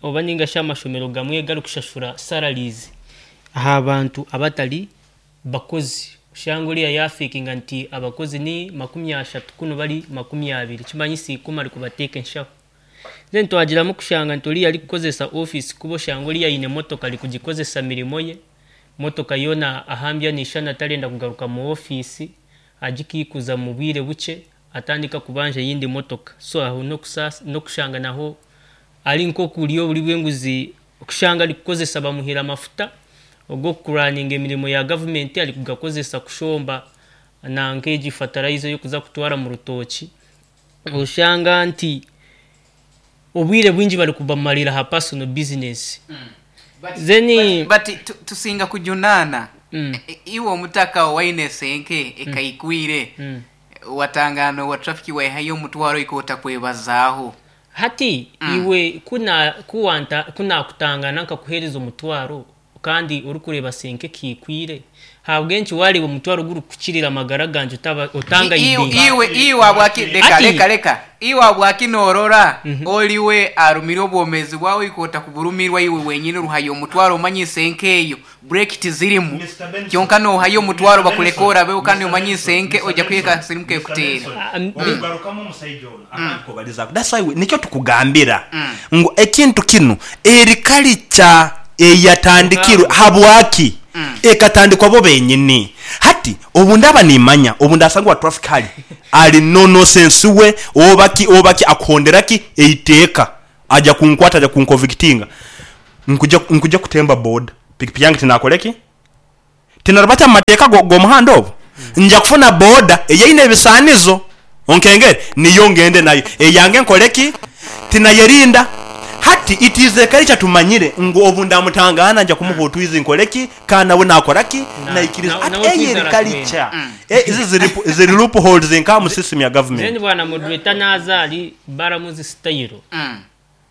oba ninga shi amashomero gamwe garikushashura salaries aha bantu abatari bakozi. Oshanga oriya yafekinga nti abakozi ni 30 kunu bari 20 ekimanyisa ikumi arikubateeka enshaho. Then twagiramu kushanga nti oriya arikukozesa office kubi oshanga oriya aine motoka arikugikozesa mirimo ye, motoka yoona ahambya nishana tarenda kugaruka mu office agikaikuza mubwire bukye. Atandika kubanja eyindi motoka so aho n'okushanga naho ari nk'okurya oburi bw'enguzi okushanga arikukozesa bamuhaire amafuta og'okukuraninga emirimo ya gavumenti arikugakozesa kushomba nanka egi fatarayiza ey'okuza kutwara omu rutookye oshanga nti obwire bwingi barikubamarira aha personal business then But tusinga kujunaana iwe omutaka owaine esenke ekaikwire Watangaana owa traffic waihayo omutwaro oika otakwebazaaho. Hati iwe ku na ku wanta ku nakutangaana nkakuheereza omutwaro kandi orikureeba senke ekaikwire, ahabw'enki waareeba omutwaro gurikukukirira amagara gangye otaba otangayidinga? Iwe iwe habwaki leka Hati leka leka iwe habwaki norora oriwe arumire obwomezi bwawe oika otakuburumirwa iwe wenyini oruhayo omutwaro omanyise nkeyo Brake tizirimu kyonka nohayo omutwaro bakureke orabeho kandi omanyise nke oija kuhika akasirimu kekuteera. Okugarukamu omusaija onu akandikubalizaku that's why nikyo tukugambira ngu ekintu kinu eri culture eyatandikirwe habwaki ekatandikwa bo benyini hati. Hati obu ndaba nimanya obu ndasanga owa traffic hali ali no nosense we oba ki oba ki akuhondera ki eiteeka aja kunkwata aja kunkovictinga nkuja nkuja kutemba boda pikipiki yange tinakore ki? Tinarubata mu mateeka g'omuhanda obwo? Nja kufuna boda eyeine ebisaanizo, onkengere, niyo ngende nayo. Eyange nkole ki? Tinayerinda. Hati it is a culture tumanyire ngu obu ndamutangaana nja kumuha otwizi nkole ki? Ka nawe nakora ki? Naikiriza. Hati Nawe eyo otwizi eri aratwenda. culture. Ezi ziri loopholes nka mu system ya Then government. bwana moderator naza ahari Balamuzi sitayiro.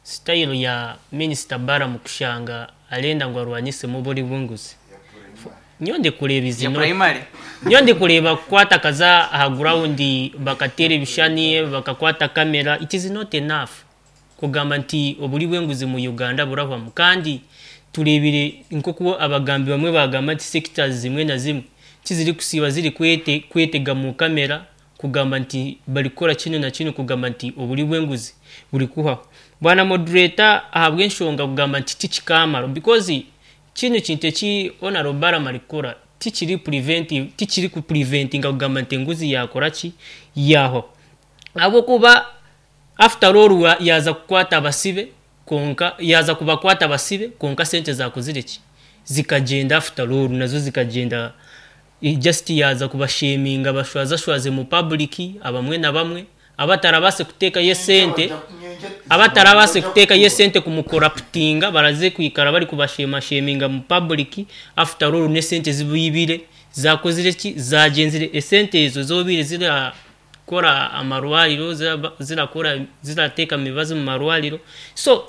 Sitayiro ya minisita Balamu kushanga arenda ngu arwanisemu oburi bw'enguzi. Nyowe ndikureeba Ya izi not primary. Nyowe ndikureeba kukwata akaza aha ground bakateera ebishushani bakakwata kamera it is not enough kugamba nti oburi bw'enguzi mu Uganda burahwamu kandi tureebire nk'oku abagambi bamwe bagamba nti sectors zimwe na zimwe tizirikusiiba ziri kwete kwetega mu kamera kugamba nti barikukora kinu na kinu kugamba nti oburi bw'enguzi buri kuhwaho. Bwana moderator ahabw'enshonga kugamba nti tikikamara because kinu kintu eki Honourable Balaam arikukora tikiri preventive tikiri ku preventinga kugamba nti enguzi yakora ki yahwaho. Ahabw'okuba after all yaaza kukwata abasibe kwonka yaaza kubakwata abasibe kwonka sente zakozire ki zikagyenda after all nazo zikagyenda just yaaza kubasheminga abashwazashwaze mu public abamwe na bamwe abatarabaase kuteekayo esente abatarabaase kuteekayo esente kumukoraputinga baraze kwikara bari kubashemasheminga mu public after all n'esente zibaibire zakozire ki zagyenzire esente ezo zobaire zirakora amarwariro zirakora zirateeka emibazi mu marwariro so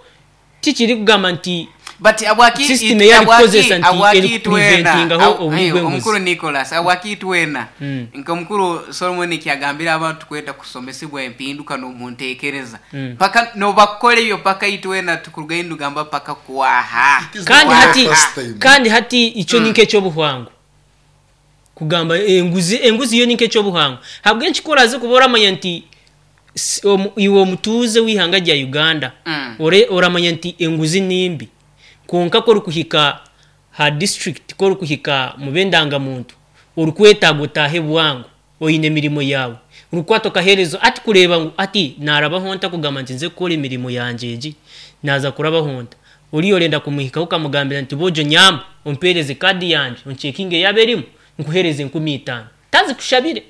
tikirikugamba nti But abwaki system it- ei abwaki arikukozesa nti abwaki itwena erikupreventingaho oburi ayo, bw'enguzi. omukuru Nicholas abwaki itwena nka omukuru Solomon kyagambira abantu kwenda kusomesibwa empinduka n'omuntekereza paka nobakora ebyo paka itwena tukurugayo nitugamba paka kwaha It is kandi not the hati first time. kandi hati icyo ni nk'ekyobuhangwa kugamba enguzi enguzi yo ni nk'ekyobuhangwa habw'enki ku oraze kuba oramanya nti iwe omutuuze w'ihanga rya Uganda ore oramanya nti enguzi nimbi kwonka ku orikuhika ha district ku orikuhika mu b'endangamuntu orikwetaaga otaahe bwangu oine emirimo yaawe orikwata okaheereza ati kureeba ngu ati naarabaho nta kugamba nti nze kukora emirimo yangye egi naaza kurabaho nta oriya orenda kumuhikaho okamugambira nti boojo nyamba ompeereze kaadi yangye oncekinge yaaba erimu nkuheereze 5000 tazikushabire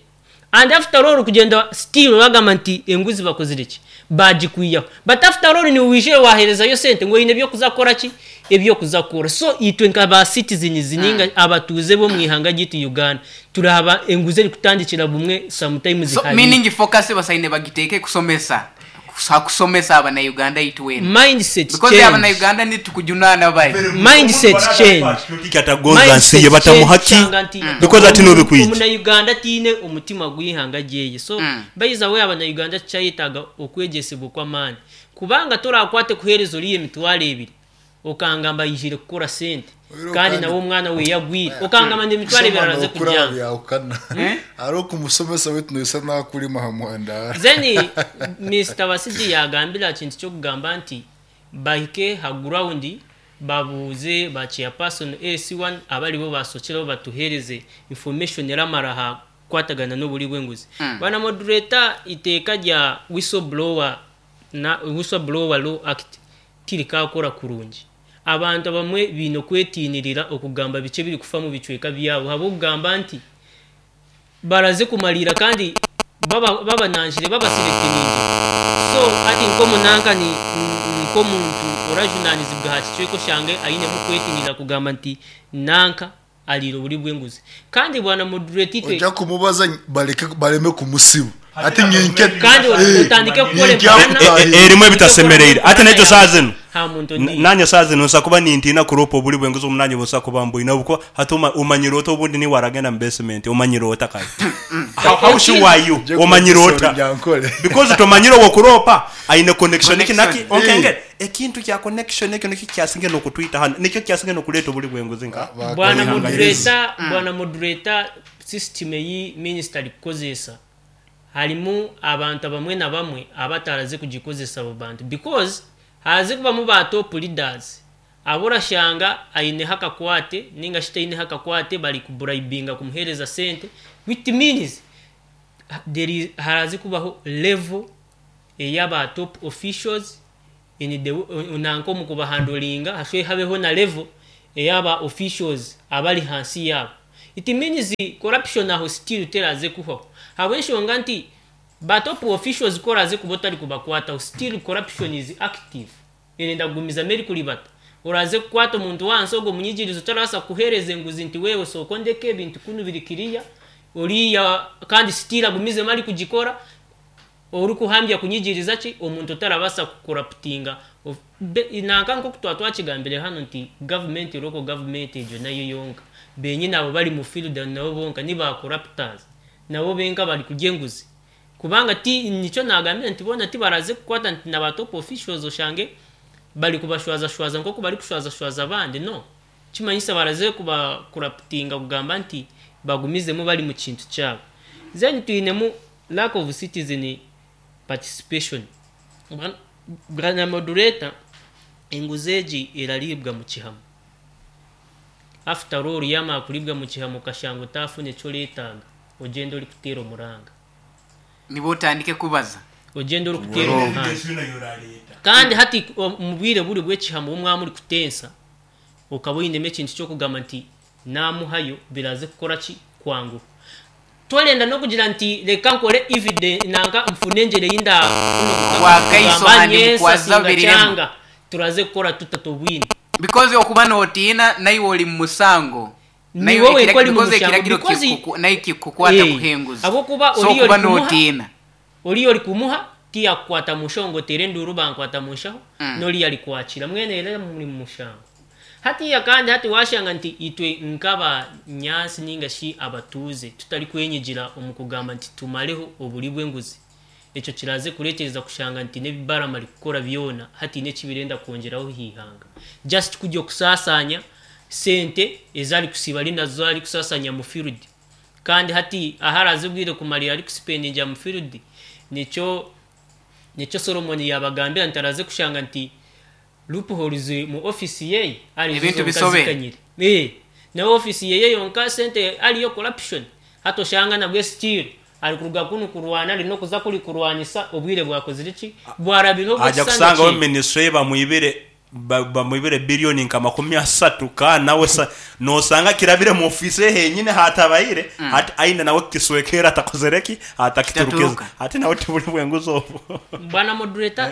and after all kugyenda still bagamba nti enguzi bakozire ki bagikwiyaho but after all niwe wijire waherezayo sente ngu oine ebyokuza kukora ki ebyokuza kukora so itwe nka ba citizens ninga abatuuze bo mu ihanga ryaitu Uganda turaba enguzi erikutandikira bumwe sometimes So hari meaning focus basaine bagiteeke kusomesa kusomesa abana Uganda itwena mindset because abana change Uganda nitukujunana bai mindset change Atagonza nsi ye batamuhaki because ati nobikwija. omunauganda atiine omutima gw'ihanga ryeye so baiza we abanauganda tukyayetaaga okwegyesebwa okw'amaani kubanga torakwate kuheereza oriya emitwaro ebiri okangamba ayijire kukora sente Oiro kandi kandi- nawe omwana we yagwire okangamba ndi emitwaro ebiri Kusoma araze nokuraba kubyanga byahukana ari okumusomesa wetu noisa nakurima ha muhanda then Mr. Basigi yagambira kintu ky'okugamba nti bahike ha ground babuuze ba chairperson AC1 abaribo basokireho batuheereze information eramara ha kukwatagana n'oburi bw'enguzi. Bwana moderator iteeka rya whistleblower na whistleblower law act tirikakora kurungi. Abantu abamwe baine okwetinirira okugamba biki ebirikufa mu bicweka byabo habw'okugamba nti baraze kumalira kandi babanangire babasiretiningire so ati nk'omunanka ni nk'omuntu orajunanizibwa aha kicweka oshange ainemu kwetinirira kugamba nti nanka ariire oburi bw'enguzi kandi bwana moderator itwe ojja kumubaza baleke baleme kumusiba ati nyenke kandi otandike kukora empalana Erimu ebitasemereire ate nekyo saa zino ha muntu ondiijo. Nanye saa zino nsa kuba nintiina kuropa oburi bw'enguzi omu nanye busa kuba mbwine obuko hati omanyire ota obundi niwe aragenda mu basement omanyire ota kare how sure are you omanyire ota Nyankole. because tomanyire wokuropa aine connection iki naki Connection. onkengere ekintu kya connection ekyo nikyo kyasinge nokutwita hano nikyo kyasinge nokuleeta oburi bw'enguzi nka Bwana Ihanga moderator bwana moderator system eyi minister arikukozesa harimu abantu abamwe na bamwe abataraze kugikozesa abo bantu because haze kubamu ba top leaders Abu orashanga aineho akakwate ninga shi taineho akakwate bari kuburayibinga kumuheereza sente which means there is, haraze kubaho level ey'aba top officials in the nanka omu kubahandoringa hashwe habeho na level ey'aba officials abari hansi yaabo. It means corruption aho still teraze kuhwaho ahabw'enshonga nti ba top officials ku oraze kuba otari kubakwataho still corruption is active erenda kugumizamu erikuribata. Oraze kukwata omuntu w'ahansi ogwo omunyigirizi otarabaasa kukuheereza enguzi nti wewe sooka ondeke ebintu kunu biri kiriya oriya kandi still agumizemu arikugikora orikuhambya kunyigiriza ki omuntu otarabaasa kukoraputinga nanka nk'oku twaba twakigambire hanu nti gavumenti local government egyo nayo yonka benyini abo bari mu field nabo bonka ni ba corruptors nabo benka bari kurya enguzi kubanga ti nikyo nagambire nti boona tibaraze kukwata nti na ba top officials oshange bari kubashwazashwaza nk'oku bari kushwazashwaza abandi no kimanyisa baraze kubakoraputinga kugamba nti bagumizemu bari mu kintu kyabo. Then twinemu lack of citizen participation. Bwana moderator, enguzi egi erariibwa mu kihamo. After all yamara kuriibwa mu kihamo okashanga otafuna eki oreetaaga, ogyenda orikuteera omuranga. Nibwo otandike kubaza. Ogyenda orikuteera omuranga. Kandi hati omu bwire buri bw'ekihamo obu mwaba murikutensa, okaba oinemu ekintu ky'okugamba nti naamuhayo biraze kukora ki? Kwanguha. Torenda n'okugira nti reka nkore evidence nanka nfune engyero ei ndaafune Obwakaiso kugamba handi nyensa bukwaza singa birirema. kyanga turaze kukora tuta tobwine. Because okuba nootiina naiwe ori mu musango. Niiwe Naiwe wenka ori mu because mushango ekiragiro because nawe kikukwata eh, kuha enguzi. ahabw'okuba So oriya okuba orikumuha nootiina. oriya orikumuha tiyakukwata mu nshaho ngu oteere enduuru bankwata mu nshaho n'oriya arikwakira mbwenu era muri mu mushango. Hatiiya kandi hati waashanga nti itwe nk'abanyaatsi nainga shi abatuuze tutarikwenyigira omu kugamba nti tumareho oburi bw'enguzi, ekyo kiraaze kureetereza kushanga nti n'ebi Balaam arikukora byona hataine eki birenda kwongyeraho aha ihanga. Just kurya okusaasaanya sente ezi arikusiiba ari nazo arikusaasaanya mu field. Kandi hati ahu araaze obwire kumarira arikusipendingira mu field, nikyo nikyo Solomon yaabagambira nti araaze kushanga nti loopholes mu office yeye arizo Ebintu zonka bisobe. zikanyire. Eh, nawe office yeye yonka sente ariyo corruption. Hati oshanga nabwe still ari kuruga kunu kurwana ari n'okuza kuri kurwanisa obwire bwakozire ki? Bwarabireho Aja obw'ekisanja kusangaho kye. ministry ye bamwibire bamwibire billioni nka 30 ka nawe nosanga kirabire mu office ye henyine hatabaire hati aine nawe kiswekera atakozere ki atakiturukiza Kitaturuka. hati nawe tiburi bwenguzi obwo. Bwana moderator,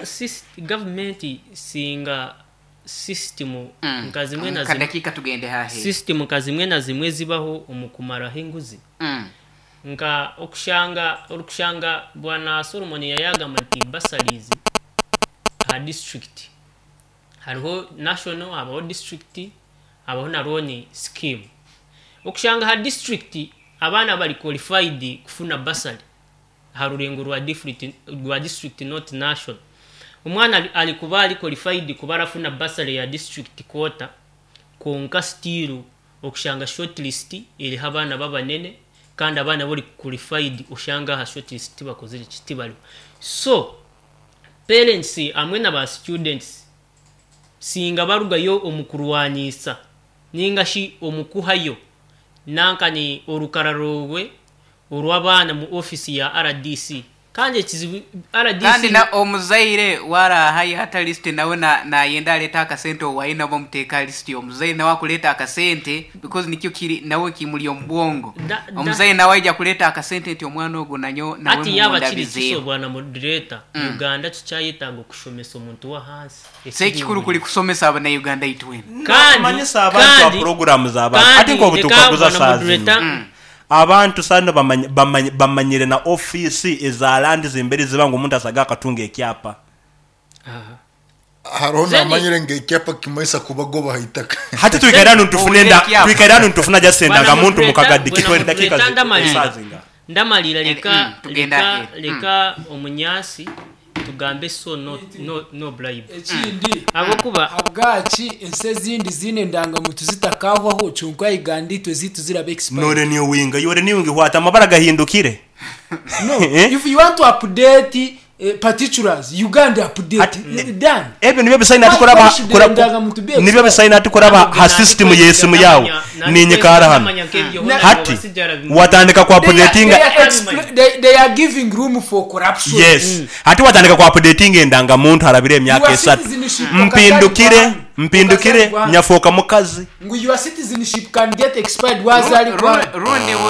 government singa system nka zimwe na zimwe Kadakika tugende hahe. system nka zimwe na zimwe zibaho omu kumaraho enguzi. Nka okushanga orikushanga bwana Solomon yayagamba nti bursaries aha district hariho national, habaho district, habaho na loan scheme. Okushanga aha district abaana bari qualified kufuna bursary aha rurengo rwa district, rwa district not national. Omwana ari kuba ari qualified kuba arafuna bursary ya district quota, kwonka still okushanga shortlist eriho abaana babanene kandi abaana bari qualified oshanga aha shortlist tibakozire ki tibariho. So parents hamwe na ba students singa barugayo omu kurwanisa ninga shi omu kuhayo nanka ni orukara rwawe orw'abaana mu office ya RDC. Kandi ekizibu RDC Kandi na omuzaire warahayo ata list nawe nayenda aleta akasente owaye nabo omuteeka list omuzaire nawe akuleta akasente because nikyo kiri nawe kimuri omu bwongo. Omuzaire nawe aija kuleta akasente nti omwana ogwo nanyo nawe Hati yaaba kiri mumundabizeeho. kiso bwana moderator, Uganda tukyayetaaga okushomesa omuntu w'ahansi. Se ekikuru kuri kusomesa abana Uganda itwena. Kandi Kumanyisa abantu ba kandi programs abantu. Ati kandi nko reka butukaguza bwana saa zino. moderator Abantu sano bamanyire na office eza land zimbere ziba ngu omuntu asaga akatunga ekyapa. Hariho Zeni namanyire ngu ekyapa kimaisa kubagoba haitaka. Hati twikaire hanu ntufune Owulire nda, ekyapa. twikaire hanu ntufuna just Bwana endaga muntu moderator, mukagadi bwana kitwere dakika moderator, ndamalira. esazinga. Ndamalira reka Tugenda reka ahead. reka omunyasi tugambe so no no no bribe. Ekindi Ahabw'okuba habwaki ensi ezindi ziine endangamuntu zitakahwaho kyonka Uganda itwe ziitu ziraba expired. Nore niyo winga, yore niyo winga hwata amabara gahindukire. No, if you want to update Particulars, Uganda update, Hati, done. Ebyo nibyo bisaine Why, hati kuraba why should kura, endagamuntu be nibyo expired? bisaine hati kuraba ha system y'esimu yawe ninyikara hanu. Hati watandika ku They are, updatinga they are, they are giving room for corruption. Yes. Hati watandika ku updatinga endangamuntu harabire emyaka Your esatu. citizenship Mpindukire, okazaalibwa hanu. mpindukire Okazaalibwa hanu. nyafuuka mukazi. Ngu your citizenship can get expired wazaalibwa hanu. Rundi buri.